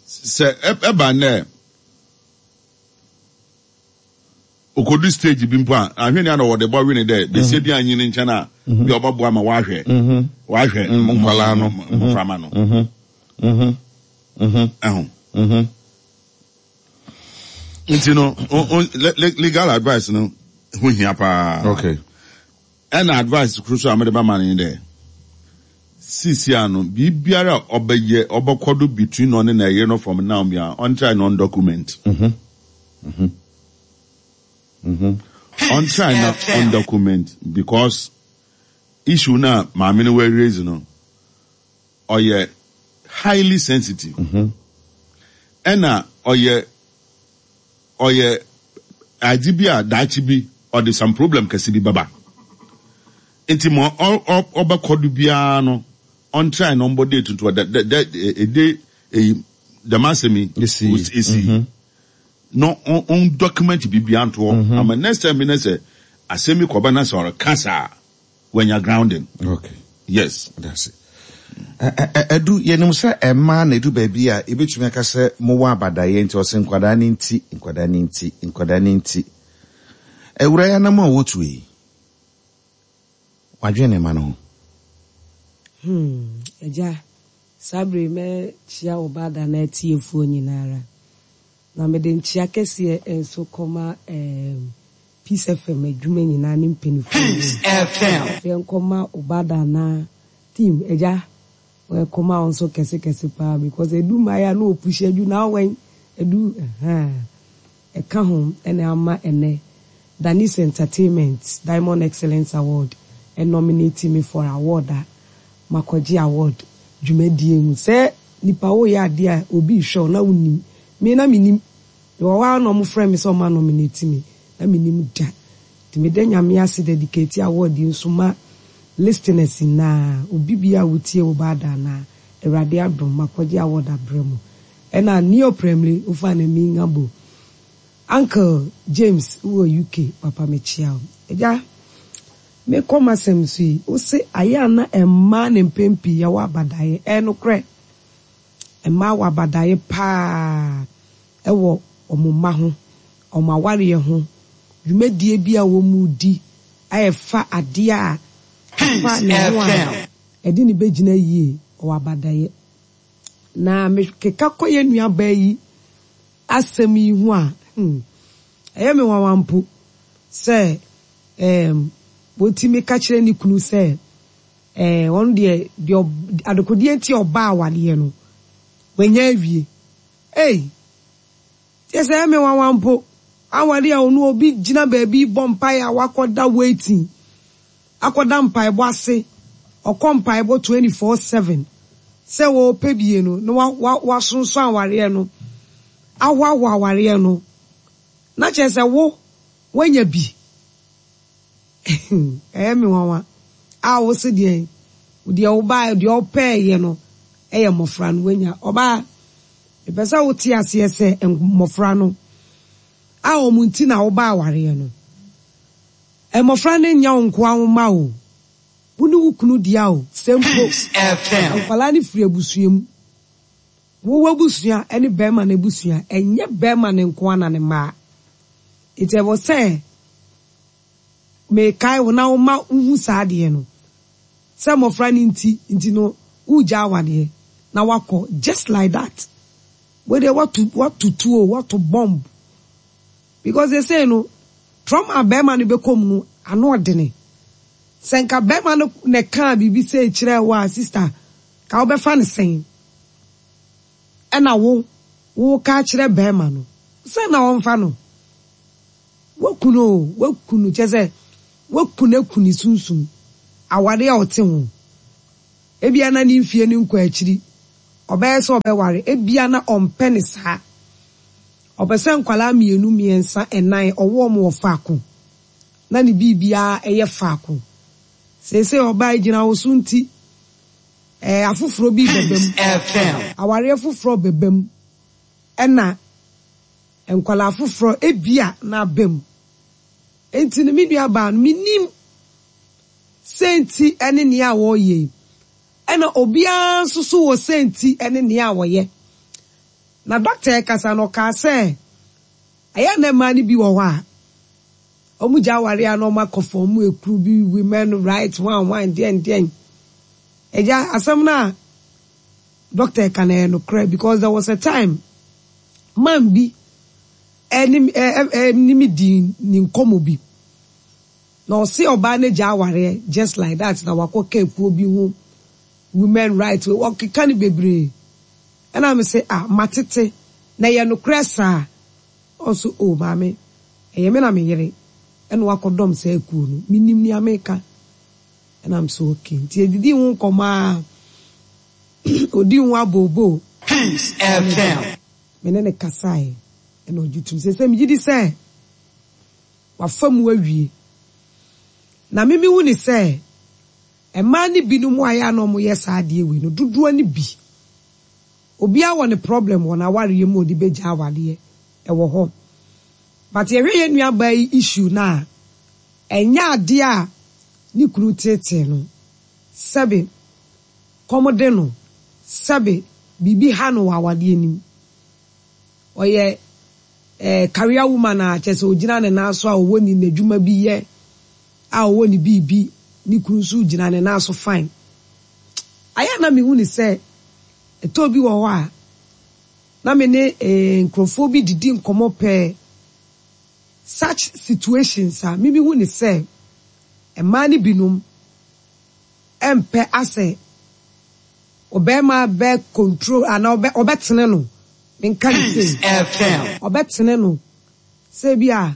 sɛ ɛba nnɛ okodu stage bi mpo a, ahwɛ ni ana wɔde bɔ wene dɛ besia bi anyi ne nkyɛn a bi a ɔbɛboa ma wahwɛ wahwɛ Nkwalaa no. Mmɔframma no ɛho. Nti no, legal advice no ho hia paa. Okay. Ɛna advice koro so a mede bɛma no ne dɛ, sisi ano biribiara a ɔbɛyɛ ɔbɛkɔ do between ɔne na ɛyere no from now bia, ɔntry na ɔndocument. Ɔntry na ɔndocument, because issue na maame no wɔ raise no ɔyɛ highly sensitive, ɛna ɔyɛ ɔyɛ ade bi a daakye bi ɔde some problem kɛse bi bɛba. Nti ma ɔbɛkɔ do biara no, ɔntry na ɔmbɔ date nto ɔda dɛ dɛ ɛde eyi dɛm asɛm yi esi. Esi na ɔn document biribiara nto hɔ ama next time bi na sɛ asɛm bi kɔba na sɛ ɔreka saa, wanya grounding. Okay. Yes. That's it. Ɛdu yɛnim sɛ ɛmaa na ɛdu baabi a ɛbɛtumi aka sɛ mowɔ abadaeɛ, nti ɔsɛ nkwadaa ne nti, nkwadaa ne nti, nkwadaa ne nti. Awura yi anam a wɔtu yi, wadwene ne ma no ho. Hmm, agya, saa bere mɛkyia wo baada na atiefoɔ nyinara. Na mede nkyia kɛseɛ nso kɔma um, Peace F M adwuma nyinaa ne mpanimfoɔ. Peace F M. Afei nkɔma wo baada na team, agya, wɔkɔma wo nso kɛse kɛse paa, because edu mmaa a na opush adu na awɛn edu ɛhɛn ɛka ho ɛna ama ɛnɛ Danis Entertainment Diamond Excellence Award ɛnominate me for award a makɔgye award dwumadie mu sɛ nipa woyɛ adeɛ a obi hwɛ wo na wonim me na menim wɔ hɔ a, na ɔmo frɛ me sɛ ɔma nominate me na menim da. Nti meda Nyame ase, dedicate award yi nso ma listeners nyinaa, obi bi a wotie wo baada na Awurade adom makɔgye award abrɛ mu. Ɛna neo premle wofa na mi nga bo Uncle James wɔ U K, papa, mekyia wo. Agya, mekɔ m'asɛm so yi, wo se ayɛ a na mmaa ne mpɛn pii yɛwɔ abadaeɛ. Ɛyɛ nokorɛ, mmaa wɔ abadaeɛ paa ɛwɔ ɔmo mma ho, ɔmo awareɛ ho, dwumadie bi a wɔn di a ɛfa adeɛ a ɛfa ne ho a ɛde ne bɛgyina yie, ɔwɔ abadaeɛ. Na mekeka kɔ yɛ nuabaa yi asɛm yi ho a, hmm, ɛyɛ me nwanwa mpo sɛ ɛɛm wɔtumi ka kyerɛ ne kunu sɛ ɛɛ ɔno deɛ deɛ adekodeɛ nti ɔbaa awadeɛ no wanya awie. Ei, kyɛ sɛ ɛyɛ me nwanwa mpo, awade a ɔno obi gyina baabi bɔ mpaeɛ a wakɔda waiting, akɔda mpaebɔ ase, ɔkɔ mpaebɔ twenty four seven sɛ wɔɔpɛ bie no na wa wa wasonso awareɛ no, ahoahoa awareɛ no, na kyerɛ sɛ wo wanya bi. Ɛyɛ me nwanwa a wo se deɛ deɛ ɔbaa deɛ ɔpɛɛyɛ no ɛyɛ mmɔfra no wanya. Ɔbaa, mepɛ sɛ wote aseɛ sɛ mmɔfra no a wɔn nti na wobaa awareɛ no, mmɔfra no nya wo nkoa wo ma o, wo ne wo kunu dea o. Sɛ mpo nkwadaa no firi abusua mu, wowɔ abusua ne bɛrima no abusua, ɛnyɛ bɛrima no nkoa na ne mmaa. Nti ɛwɔ sɛ mekae wo na woma wohu saa adeɛ no sɛ mmɔfra no nti nti no wogya awadeɛ na wakɔ just like that. Wede watu watutu o, wato bomb, because they say no trauma bɛrima no bɛkɔ mu no ano ɔdene. Sɛ nka bɛrima no na kaa biribi sɛ kyerɛ wo a, sister, ka wobɛfa no sɛn? Ɛna wo wo ka kyerɛ bɛrima no sɛ na ɔmfa no waku no o, waku no, kyɛ sɛ waku no, aku ne sunsum awade a ɔte ho. Ebia na ne mfie no nkɔ akyiri. Ɔbɛyɛ sɛ ɔbɛware. Ebia na ɔmpɛ ne saa. Ɔpɛ sɛ nkwadaa mmienu, mmiɛnsa, ɛnan ɔwɔ wɔn wɔ faako. Na ne biribiara ɛyɛ faako. Seesei ɔbaa yi gyina wo so nti, ɛɛ afoforɔ bi bɛba mu. Peace F M. Awareɛ foforɔ bɛba mu. Ɛna nkwadaa foforɔ ebia na aba mu. Enti no me nua baa no, menim sɛ nti ɛne nea wɔreyɛ yi. Ɛna obiara nso so wɔ sɛ nti ɛne nea wɔyɛ. Na dɔkta ɛkasa no ɔkaa sɛ, ɛyɛ na mmaa no bi wɔ hɔ a, wɔn gya awareɛ a na wɔn akɔ fam ekuru bi women right one one deɛn deɛn. Ɛgya asɛm na dɔkta ɛka na ɛyɛ nokorɛ because there was a time man bi ɛne ɛ ɛne mi di ne nkɔmɔ bi. Na ɔsi ɔbaa ne gya awareɛ just like that na wakɔ ka ekuo bi ho women right ɔkeka ne bebree. Ɛna mi sɛ, ah, matete na ɛyɛ nokorɛ saa. Ɔso o maame, ɛyɛ me na me yere ɛna wakɔdɔm saa ekuo no, minim nea meka. Ɛna m so okay. Nti edidi ho nkɔmɔ a odi ho abooboo. Peace F M. Me ne ne kasaeɛ ɛna ɔgye tum sɛ sɛ megye di sɛ wafa mu awie. Na mimi hu ne sɛ mmaa ne binom a yɛ a na wɔyɛ saa adeɛ wei no dodoɔ ne bi. Obiara wɔ ne problem wɔ n'awareɛ mu a ɔde bɛgya awareɛ ɛwɔ hɔ. But yɛhwɛ yɛn nuabaa yi issue na ɛnyɛ adeɛ a ne kunu tetee no. Sɛbe kɔm de no, sɛbe biribi ha no wɔ awadeɛ nim. Ɔyɛ eh, career woman a kyerɛ sɛ ogyina ne nan so a ɔwɔ ne n'adwuma bi yɛ a ɔwɔ ne biribi, ne kunu nso gyina ne nan so fine. Ayɛ na mehu ne sɛ ɛtɔ bi wɔ hɔ a na me ne eh, nkurɔfoɔ bi didi nkɔmmɔ pɛɛ such situations a mimi hu ne sɛ mmaa no binom ɛmpɛ asɛ ɔbɛrima bɛ control anaa ɔbɛ ɔbɛtene no, menka ne Peace sei F M. Ɔbɛtene no sɛ bi a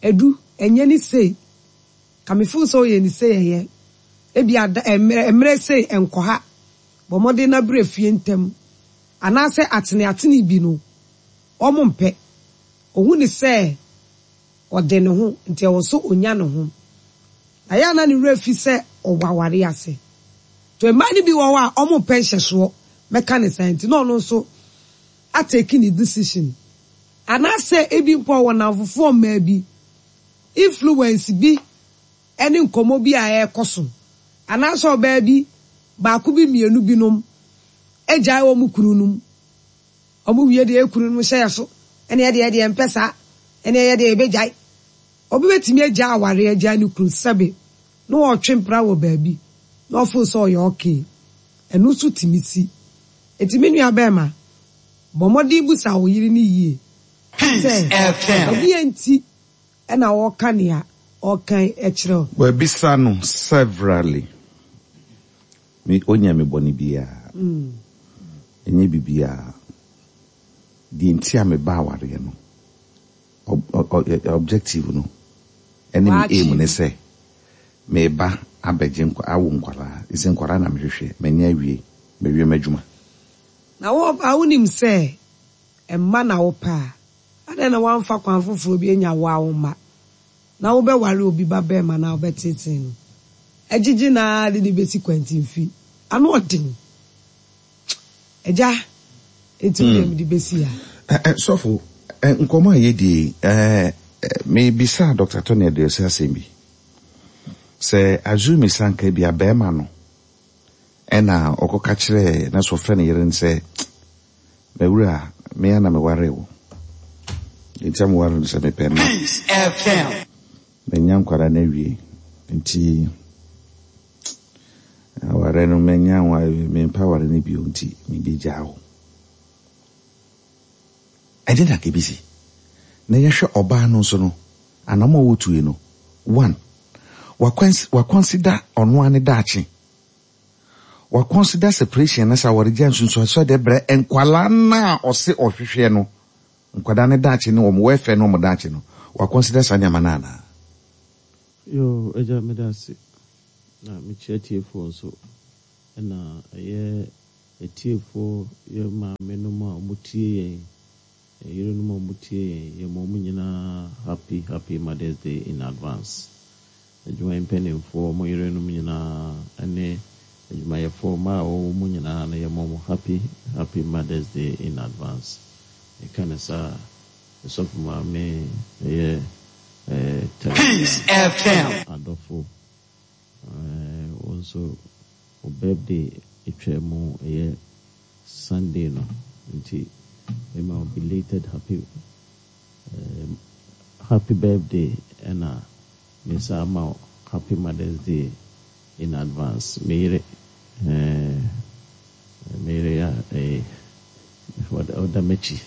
edu ɛnyɛ ne sei ka me feel sɛ ɔyɛ ne sei, ɛyɛ ebi ada mmerɛ mmerɛ sei nkɔ ha, bɔ mmɔden na brɛ fie ntɛm anaasɛ atene atene bi no ɔmo mpɛ. Ohun ne sɛ ɔde ne ho nti ɛwɔ so onya ne ho na yɛ ana ne werɛ fi sɛ ɔwɔ aware ase to. Mmaa no bi wɔ hɔ a ɔmo mpɛ nhyɛsoɔ, mɛka ne saa, nti na ɔno nso atake ne decision anaasɛ ebi mpo ɔwɔ namfofoɔ mmaa bi influence bi ɛne nkɔmɔ bi a ɛrekɔ so anaasɛ ɔbaa bi baako bi mmienu binom agyae wɔn kunu nom, wɔn wie deɛ ekunu nom hyɛ yɛ so ɛne ɛdeɛ ɛdeɛ mpɛ saa ɛne ɛyɛ deɛ ebɛgyae. Obi bɛtumi agya aware, agya ne kunu sɛbe na ɔtwe mpra wɔ baabi na ɔfo sɛ ɔyɛ okay, ɛno nso tumi si. Eti me nua bɛrima, bɔ mmɔden busa wo yere ne yie Peace sɛ F M. ɛdeɛ nti ɛna ɔka nea ɔkan ɛkyerɛ wo. Wabisa no severally. Me onya me bɔne biara. Ɛnyɛ biribiara. Deɛ nti a meba awareɛ no, ob- ob- ob- objective no, ɛne me aim ne sɛ meba abɛgye nkwa awo nkwaraa. Ɛsɛ nkwaraa na mehwehwɛ. Manya awie. Mawie m'adwuma. Na wo a wonim sɛ ɛmma na wopɛ a, adɛn na woamfa kwan foforɔ bi anya wo a wo mma na wobɛware obi ba bɛrima na wobɛtete no agyigye naa de ne bɛsi kwantimfi ano ɔden agya enti wo deɛ mede bɛsi ha. Ɛ- ɛ, Sɔfo, ɛ, nkɔmmɔ a yɛdie, ɛ, ɛ, mebisa Doctor Tony Aduasi asɛm bi. Sɛ assume sanka bi a bɛrima no ɛna ɔkɔka kyerɛɛ na sɛ ɔfrɛ ne yere no sɛ, mawura, mea na meware wo. Nti a meware no sɛ mepɛ mma. Peace F M. Manya nkwadaa no awie. Nti aware no manya wa mempɛ aware no bio nti mebɛgyaa wo. Ɛde na kebisi. Na yɛhwɛ ɔbaa no nso no, anam a wɔtue no, one, waconsider ɔno ane daakye. Waconsider separation na sɛ awaregya nsunsuansoɔ de brɛ nkwalaa na a ɔse ɔhwehwɛ no, nkwadaa ne daakye ne wɔn welfare ne wɔn daakye no, waconsider saa nneɛma no anaa? Yo, agya, meda ase na mekyia tiefoɔ nso. Ɛna ɛyɛ atiefoɔ, yɛ maamenom a wɔtie yɛn, yɛn yerenom a wɔtie yɛn, yɛma wɔn nyinaa happy happy Mother's Day in advance. Adwumayɛ mpanimfoɔ, wɔn yerenom nyinaa ne adwumayɛfoɔ mmaa a wɔwɔ mu nyinaa no, yɛma wɔn happy happy Mother's Day in advance. Meka no saa a, Ɔsɔfo Maame ɛyɛ ɛɛ Peace Teresa F M. Adɔfo, ɛɛ wo nso wo birthday atwa mu, ɛyɛ Sunday no, nti mema wo belated happy ɛɛ happy birthday, ɛna me sa ama wo happy Mother's Day in advance. Me yere ɛɛ me yere a ɛyɛ ɔda m'akyi,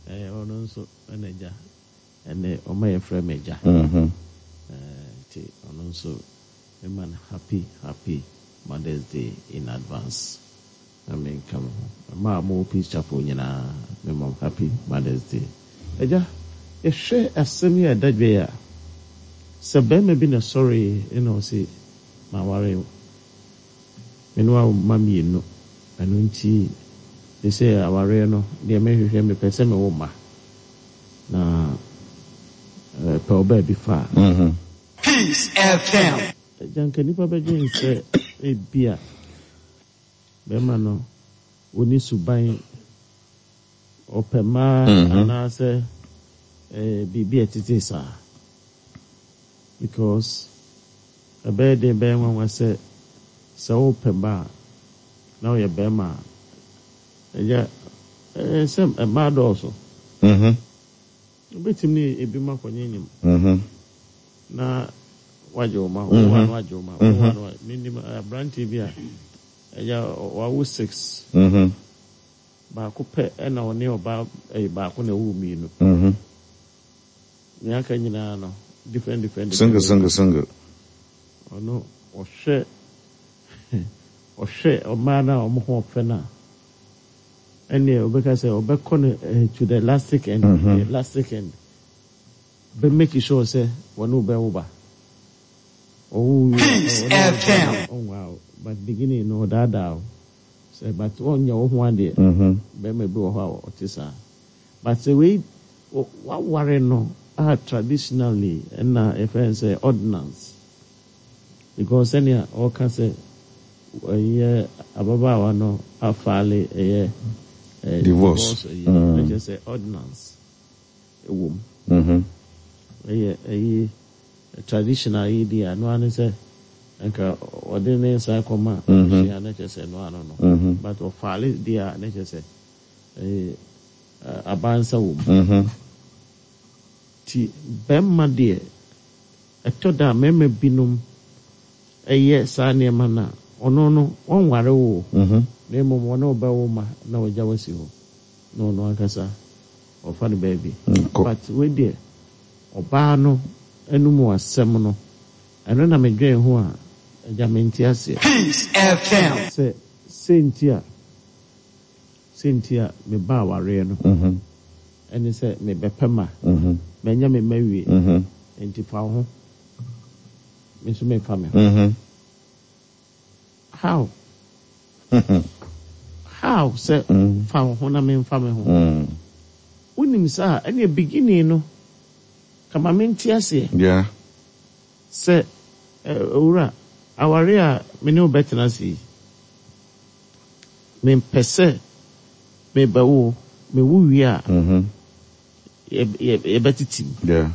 ɛɛ ɔno nso ɛna agya, ɛnɛ ɔma yɛfrɛ me agya, ɛɛ nti ɔno nso mema no happy happy Mother's Day in advance. Na menka mo ho mmaa a mowɔ Peace Chapel nyinaa, mema mo happy Mother's Day. Agya, yɛhwɛ asɛm yi a ɛda dwa yi a, sɛ barima bi na sɔre ɛna ɔse maware wo, me ne wo mma mmienu, ɛno nti te sɛ awareɛ no deɛ mehwehwɛ, mepɛ sɛ mewɔ mma na pɛ wo baabi fa a, Peace F M. Agya, nka nnipa bɛdwen sɛ ebia bɛrima no ɔni suban, ɔpɛ mmaa anaasɛ eh, biribi a ɛtete saa, because ɛbɛyɛ den, bɛyɛ nwanwa sɛ sɛ wopɛ mma a na woyɛ bɛrima a, ɛgya ɛɛ sɛ mmaa dɔɔso, wobɛtumi ne ebi mu akɔnyɛ nyim na wagye wo ma wo wa no, wagye wo ma wo wa no. Menim aberanteɛ bi a, ɛgya, wawo six, baako pɛ ɛna ɔne ɔbaa ɛyɛ baako na ɛwɔ mmienu, nea aka nyinaa no different different. Single, single, single. Ɔno ɔhwɛ ɔhwɛ ɔmaa no a ɔmo ho ɔfɛ no a, ɛnneɛ ɔbɛka sɛ ɔbɛkɔ no eh, to the elastic end, the elastic end, bɛ make sure sɛ wɔne wo bɛwo ba, ɔwo wie a, Peace ɔne wo ba F M. no ɔnwaa wo, but beginning no ɔdaadaa wo sɛ, but ɔnyɛ wo ho adeɛ. Bɛrima bi wɔ hɔ a ɔte saa, but sɛ wei wɔ- waware no a, traditionally ɛna yɛfrɛ no sɛ ordinance, because sɛnea ɔka sɛ ɛyɛ ababaawa no afile ɛyɛ ɛɛ Divorce. Divorce ɛyɛ na kyerɛ sɛ ordinance ɛwɔ mu, ɛyɛ ɛyɛ traditional yi di ano ano sɛ nka ɔde ne nsa kɔma abusua na kyerɛ sɛ ɛno ano no, but ɔfile deɛ a, na kyerɛ sɛ ɛyɛ ɛ, abansa wɔ mu. Ti bɛrima deɛ, ɛtɔ da a mmarima binom ɛyɛ saa nneɛma no a, ɔno no ɔnware wo o, na mmom ɔne wo bɛwo ma na ɔgya wasi hɔ na ɔno ankasa ɔfa no baabi. Nkɔ. But wei deɛ, ɔbaa no anom asɛm no, ɛno na medwen ho a, agya, mente aseɛ. Peace F M. Sɛ sɛnti a sɛnti a meba awareɛ no ɛne sɛ mebɛpɛ ma manya me ma wie, nti fa wo ho, me nso memfa me ho. How how sɛ fa wo ho na memfa me ho? Wonim saa ɛne beginning no kama mente aseɛ Yeah. sɛ ɛ, owura, aware a me ne wo bɛtena ase yi, mempɛ sɛ mebɛwo, mewo wie a, yɛ- yɛ- yɛbɛtete mu. Yeah.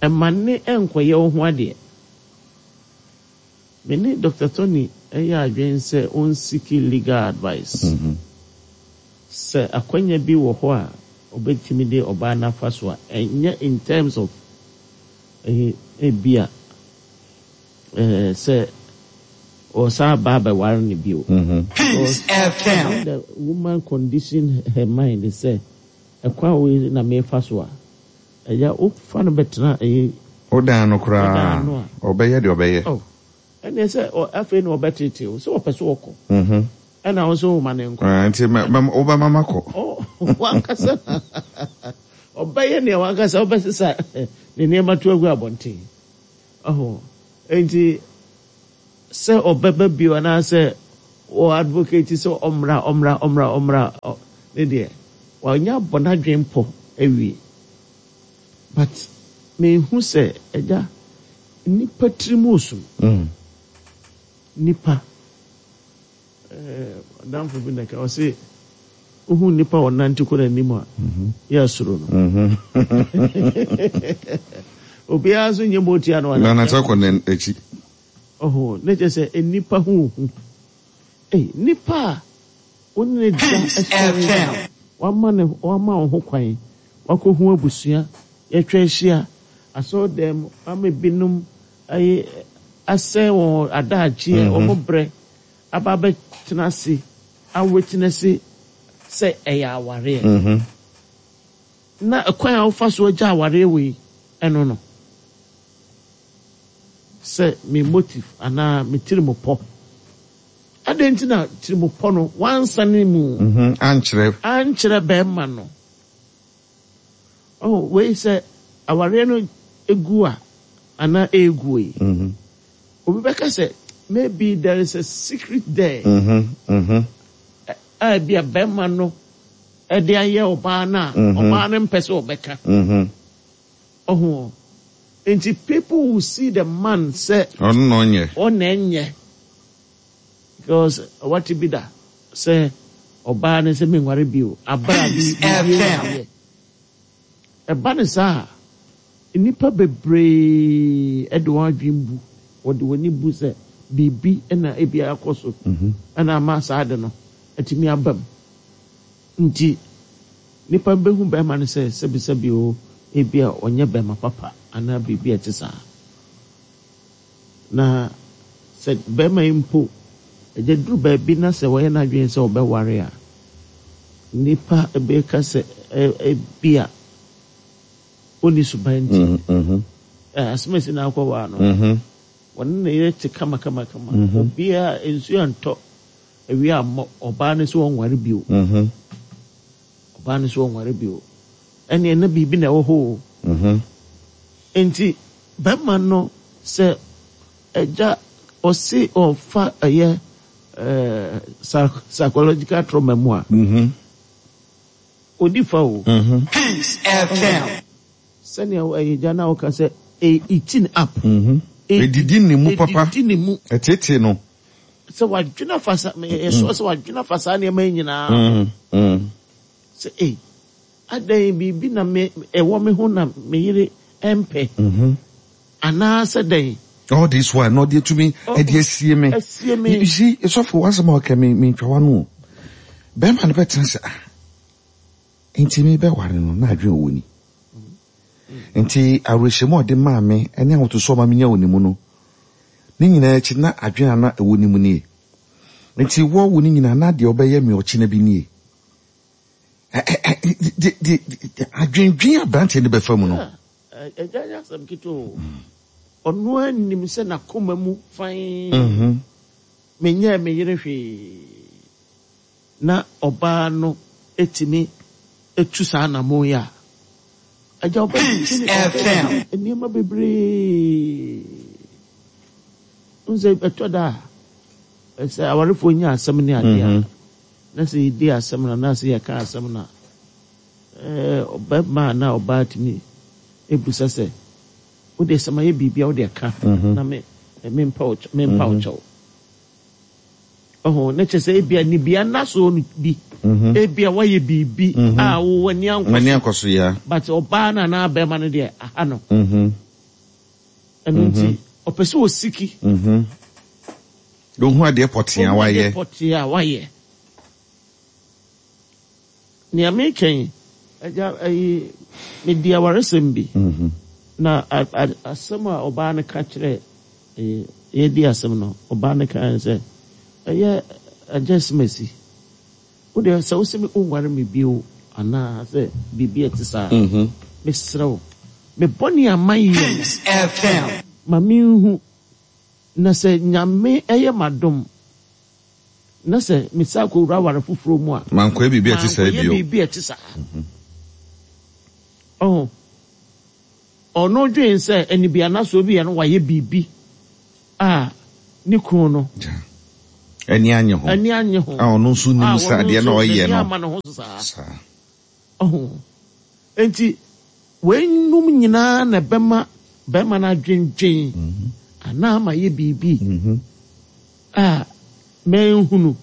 Ɛma ne ɛnkɔyɛ wo ho adeɛ. Me ne Doctor Tony ɛyɛ adwene sɛ ɔnseek legal advice sɛ akwanya bi wɔ hɔ a ɔbɛtumi de ɔbaa n'afa so a, ɛnyɛ in terms of ɛyɛ ebi a ɛɛ sɛ ɔsan ba abɛware no bio. Peace Because F M. when the woman condition her mind sɛ ɛkwan wei na mefa so a, ɛyɛ wofa no bɛtena ɛyɛ Wodan no ɔdan koraa no a, ɔbɛyɛ deɛ ɔbɛyɛ. Oh, ɛnna sɛ ɔ- afei na ɔbɛtete o sɛ ɔpɛ so ɔkɔ, Mhm. ɛna wo nso woma ne nkɔ. Ah, nti mɛ- mɛ- wobɛma makɔ. Ɔ, wankasa ɔbɛyɛ nea wankasa wobɛsesa ne nneɛma to agu abɔnten. Ɔho nti Sɛ ɔbɛba bio anaasɛ wɔ advocate sɛ ɔmmra, ɔmmra, ɔmmra, ɔmmra, ne deɛ wanya abɔ n'adwene pɔ awie. But mehu sɛ, agya, nipa tiri mu osum. Mm. Nipa adamfo bi na ka ɔse wohu nipa a ɔnante kɔ n'anim a, yɛ asuro no. Obiara nso nyɛ motia no. Na nante akɔ n'akyi. Ɔho ne kyerɛ sɛ nipa ho hu. Ei, nipa a wo ne ne da ɛsɔre, wama ne wama wo ho kwan wakɔhu abusua, yɛtwa ahyia asɔre dɛm ama binom ayɛ asɛe wɔn adagyeɛ, wɔn brɛ aba abɛtena ase awetena ase sɛ ɛyɛ awareɛ. Na ɛkwan a wofa so agya awareɛ wei ɛno no sɛ me motive anaa me tirim pɔ adɛn nti na tirim pɔ no wansane mu? Mhm. Ankyerɛ. Ankyerɛ bɛrima no. Oh, wei sɛ awareɛ no egu a anaa egu yi, Mhm. obi bɛka sɛ maybe there is a secret there Mhm. Mhm. a bi a bɛrima no ɛde ayɛ ɔbaa no a ɔbaa no mpɛ sɛ ɔbɛka. Mhm. Ɔho nti people will see the man sɛ ɔno na ɔnyɛ. Ɔna ɛnyɛ, because wate bi da sɛ ɔbaa no sɛ menware bio abra bi Peace biribi F M. yɛ ɛba ne saa a, nnipa bebree ɛde wɔn adwene bu, wɔde wɔn ani bu sɛ biribi ɛna ebi akɔ so ɛna ama saa de no atumi aba mu. Nti nipa bɛhu bɛrima no sɛ sɛbisɛbi o, ebi a ɔnyɛ bɛrima papa anaa biribi a ɛte saa. Na sɛ bɛrima yi mpo ɛgya duru baabi na sɛ wɔyɛ n'adwene sɛ ɔbɛware a, nipa bɛka sɛ ɛ ebi a ɔnni suban nti Mhm. Mhm. ɛ asɛm a esi na akɔwaa no, Mhm. wɔne ne yere te kama kama kama, obiara nsuo antɔ, awia ammɔ, ɔbaa no sɛ ɔnware bio. Mhm. Ɔbaa no sɛ ɔnware bio, ɛnneɛ na biribi na ɛwɔ hɔ o. Mhm. Nti bɛrima no sɛ ɛgya ɔse ɔfa ɛyɛ ɛɛ psy- psychological trauma mu a, Mhm. odi fa o. Mhm. Peace F M. Sɛnea ɛyɛ gya na ɔka sɛ e eating up. Mhm. Edidi ne mu papa. Edidi ne mu. Ɛtete no. Sɛ wadwena fa sa yɛsɔ sɛ wadwena fa saa nneɛma yi nyinaa Mhm. Mhm. sɛ ei, adan biribi na me ɛwɔ me ho na me yere ɛmpɛ Mhm. anaasɛ dɛn. All this while na ɔde etumi ɛde asie me. Asie me. You see, sɔfo, wasɛm a ɔka me me ntwa no o. Bɛrima no bɛtena sɛ, ah, nti mi bɛware no na adwene wɔ ni. Nti awerɛhyɛmu a ɔde maa me ɛne ahotoso a ɔma me nya wɔ ne mu no, ne nyinaa akyi na adwene a na ɛwɔ ne mu nie. Nti wɔwo ne nyinaa na deɛ ɔbɛyɛ me ɔkyena bi nie. Ɛ- ɛ- ɛ- de- de- de- adwendwen aberanteɛ no bɛfa mu no. Ɛgya nyɛ asɛm ketewa o. Ɔno anim sɛ n'akoma mu fan Mhm. menyɛɛ me yere hwee na ɔbaa no etumi etu saa anamɔ yi a, agya Peace ɔbɛ F M. Nneɛma bebree n sɛ ɛtɔ da a sɛ awarefoɔ nya asɛm ne adeɛ a, Mhm. na sɛ yɛdi asɛm no anaasɛ yɛka asɛm no a, ɛɛ, ɔbɛrima anaa ɔbaa tumi ebusa sɛ wode sɛ mayɛ biribi a wode ka Mhm. na me mempa wo kyɛ- mempa wo kyɛw. Ɔho ne kyerɛ sɛ ebia nibia nna so no bi, Mhm. ebia wayɛ biribi a wo w'ani M'ani ankɔ so, akɔ so ya. But ɔbaa no anaa bɛrima no deɛ aha no, Mhm. ɛno nti ɔpɛ sɛ ɔsiki Mhm. Ohun adeɛ pɔtee a ɔhu adeɛ wayɛ. Pɔtee a wayɛ. Nea meka yi, agya, ayi medi awaresɛm bi Mhm. na a- a- asɛm a ɔbaa no ka kyerɛ ɛyɛ yɛdi asɛm no, ɔbaa no ka sɛ ɛyɛ agya simasi, wodeɛ sɛ wosɛ me wonware me bio anaa sɛ biribi a ɛte saa, Mhm. mesrɛ wo, me bɔne a mayɛ no, Peace F M. Ma menhu na sɛ Nyame ɛyɛ m'adom na sɛ mesa akɔwura aware foforɔ mu a, mankɔyɛ biribi a ɛte saa mankɔyɛ bio. Biribi a ɛte saa. Ɔho ɔno dwen sɛ anibianasoɔ bi yɛ no wayɛ biribi a ne kunu no Ani anye ho. Ani anye ho. A ɔno nso nim A sɛ ɔno adeɛ na nso ɔyɛ n'ani no. ama ne ho so saa. Saa. Ɔho. Enti weinom nyinaa na ɛbɛma bɛrima no adwendwen anaa ma yɛ biribi a manhunu,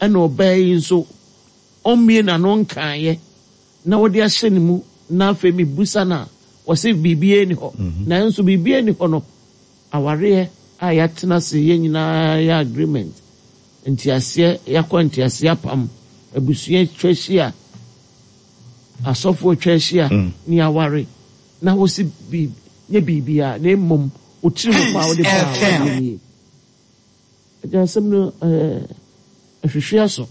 ɛna ɔbaa yi nso ɔmmie n'ano nkaeɛ na wɔde ahyɛ ne mu, na afei mebusa no a, wɔse biribiara ni hɔ. Nanso biribiara ni hɔ no, awareɛ a yɛatena ase, yɛn nyinaa yɛ agreement, nteaseɛ, yɛakɔ nteaseɛ apam, abusua atwa ahyia, asɔfoɔ atwa ahyia, ne aware na wɔsi bi nyɛ biribiara, na mmom wo tiri mu pa a wode baa awareɛ nie. Agya, asɛm no ɛɛ ɛhwehwɛ aso,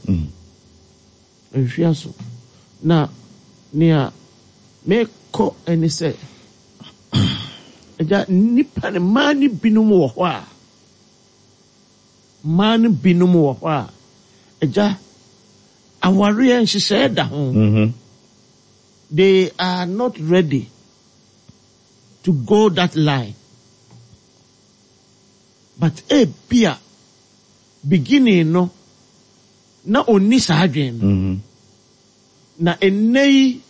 ɛhwehwɛ aso. Na nea mekɔ ɛne sɛ, agya, nnipa ne mmaa no binom wɔ hɔ a, mmaa no binom wɔ hɔ a, agya, awareɛ nhyehyɛeɛ da ho. Mhm. They are not ready to go that line, but ebia beginning no na onni saa adwene no. Mhm. Na ɛnnɛ yi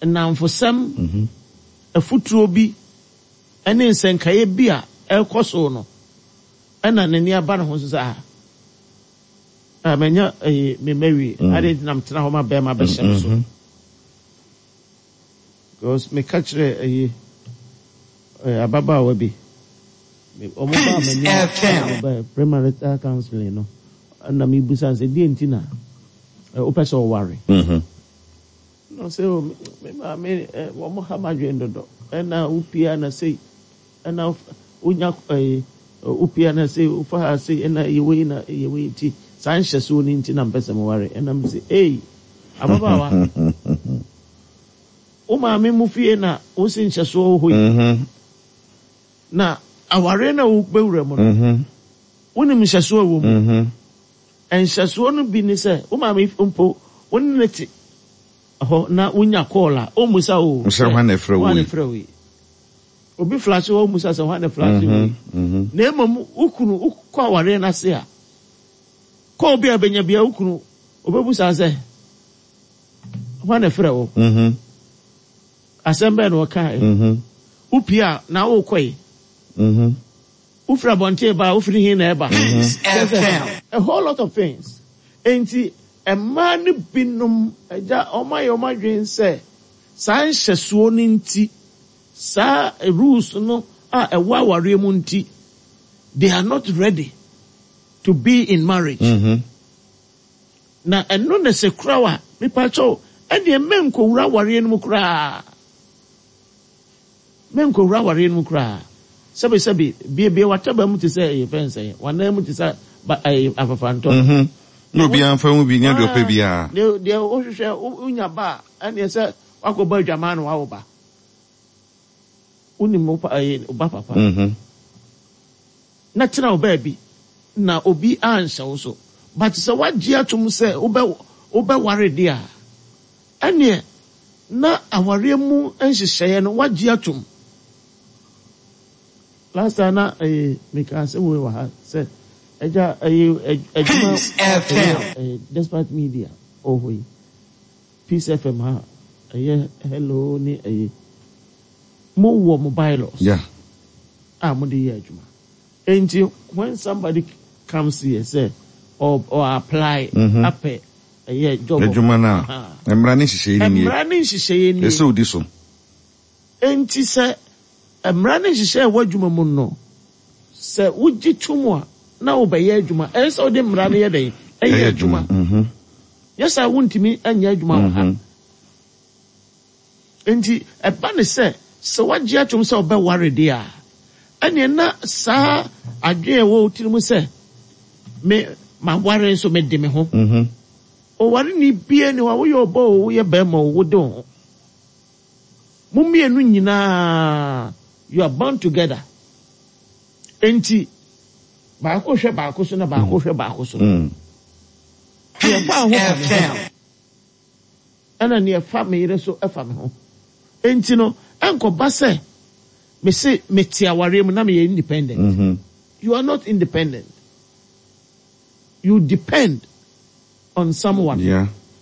nnamfosɛm, Mhm. afutuo bi ne nsɛnkaeɛ bi a ɛrekɔ so no, ɛna n'ani aba ne ho so sɛ, ah, ah, manya ɛyi me mawie Mm. ade nti na metena hɔ ma bɛrima bɛhyɛ me so, Mhm. because meka kyerɛ ɛyi ɛɛ ababaawa bi, Me- ɔmo baa m'anim F M. Ɔmo baa premarital counseling no, ɛna mebusa no sɛ, deɛ nti na ɛ, wopɛ sɛ ɔware? Mhm. Na ɔsɛ, o me me maame ɛ, wɔn ha m'adwene dodo, ɛna wopia na sei, ɛna wof- wonya ɛyi wopia na sei, wofa ha sei, ɛna ɛyɛ wei na ɛyɛ wei, nti saa nhyɛsoɔ no nti na mpɛ sɛ meware. Ɛna m sɛ, ei, ababaawa, wo maame mu fie na wosi nhyɛsoɔ wɔ hɔ yi, Mhm. na awareɛ no a wobɛwura mu no, Mhm. wonim nhyɛsoɔ a ɛwɔ mu. Mhm. Nhyɛsoɔ no bi ne sɛ, wo maame mpo, wo ne ne te hɔ na wonya call a, ɔmmusa o Sɛ hwan na ɛfrɛ wo hwan na yi? ɛfrɛ wo yi. Obi flash hɔ, ɔmmusa sɛ hwan na flash wo yi. Mhm. Na mmom wo kunu, wokɔ awareɛ no ase a, kɔ obi a bɛnya bia, wo kunu obɛbusa sɛ hwan na ɛfrɛ wo, Mhm. asɛm bɛɛ na ɔkae, Mhm. wopie a na wokɔ yi, Mhm. wofiri abɔnten ba a, wofiri hin na ɛba. Peace Kyerɛ sɛ, F M. a whole lot of things. Enti mmaa no binom, agya, ɔmo ayɛ ɔmo adwene sɛ saa nhyɛsoɔ no nti, saa rules no a ɛwɔ awareɛ mu nti, they are not ready to be in marriage. Mhm. Na ɛno na sɛ kura wa mipakyɛw, ɛdeɛ mɛnkɔwura awareɛ no mu koraa, mɛnkɔwura awareɛ no mu koraa. Sɛbi sɛbi, biebie wataba mu te sɛ ɛyɛ fɛn sɛn, wanan mu te sɛ ba ɛyɛ afafantɔ. Mhm. Na obiara mfa mu bi nyɛ deɛ ɔpɛ biara. Deɛ deɛ wohwehwɛ, wo- wonya ba a, ɛneɛ sɛ wakɔbɔ adwaman na wawo ba, wonim wo pa ɛyɛ wo ba papa, Mhm. na tena wo baabi na obi anhyɛ wo so. But sɛ woagye atom sɛ wobɛ wobɛware deɛ a, ɛneɛ na awareɛ mu nhyehyɛeɛ no woagye atom. Last time na ɛyɛ meka asɛm wei wɔ ha sɛ, agya, ɛyɛ ɛ- adwuma Peace F M. ɛyɛ ɛyɛ Despite Media ɔwɔ hɔ yi, Peace F M ha, ɛyɛ Hello ne ɛyɛ mowɔ mo bylaws Yeah. a mode yɛ adwuma. Enti when somebody comes here sɛ or or apply Mhm. apɛ ɛyɛ job, Adwuma no Aha. a, mmara ne nhyehyɛeɛ no nie. Mmara ne nhyehyɛeɛ nie. Ɛsɛ odi so. Enti sɛ mmara ne nhyehyɛeɛ a ɛwɔ adwuma mu no, sɛ wogye tom a na wobɛyɛ adwuma, ɛyɛ sɛ wode mmara no yɛ dɛn, ɛyɛ adwuma. Mhm. Nyɛ sɛ wontumi anyɛ adwuma wɔ ha. Mhm. Nti ɛba ne sɛ sɛ woagye atom sɛ wobɛware deɛ a, ɛneɛ na saa adwene a ɛwɔ wo tiri mu sɛ me maware nso mede me ho. Mhm. Ɔware ni bie ne hɔ a, woyɛ ɔbɔ o, woyɛ bɛrima o, wode wo ho, mo mmienu nyinaa, you are bound together. Nti baako hwɛ baako so na baako hwɛ baako so. Mm. Deɛ ɛfa ho fa me ho, F M. ɛna neɛ ɛfa me yere so ɛfa me ho. Nti no ɛnkɔba sɛ mese mete awareɛ mu na meyɛ independent. Mhm. You are not independent. You depend on someone. Yeah.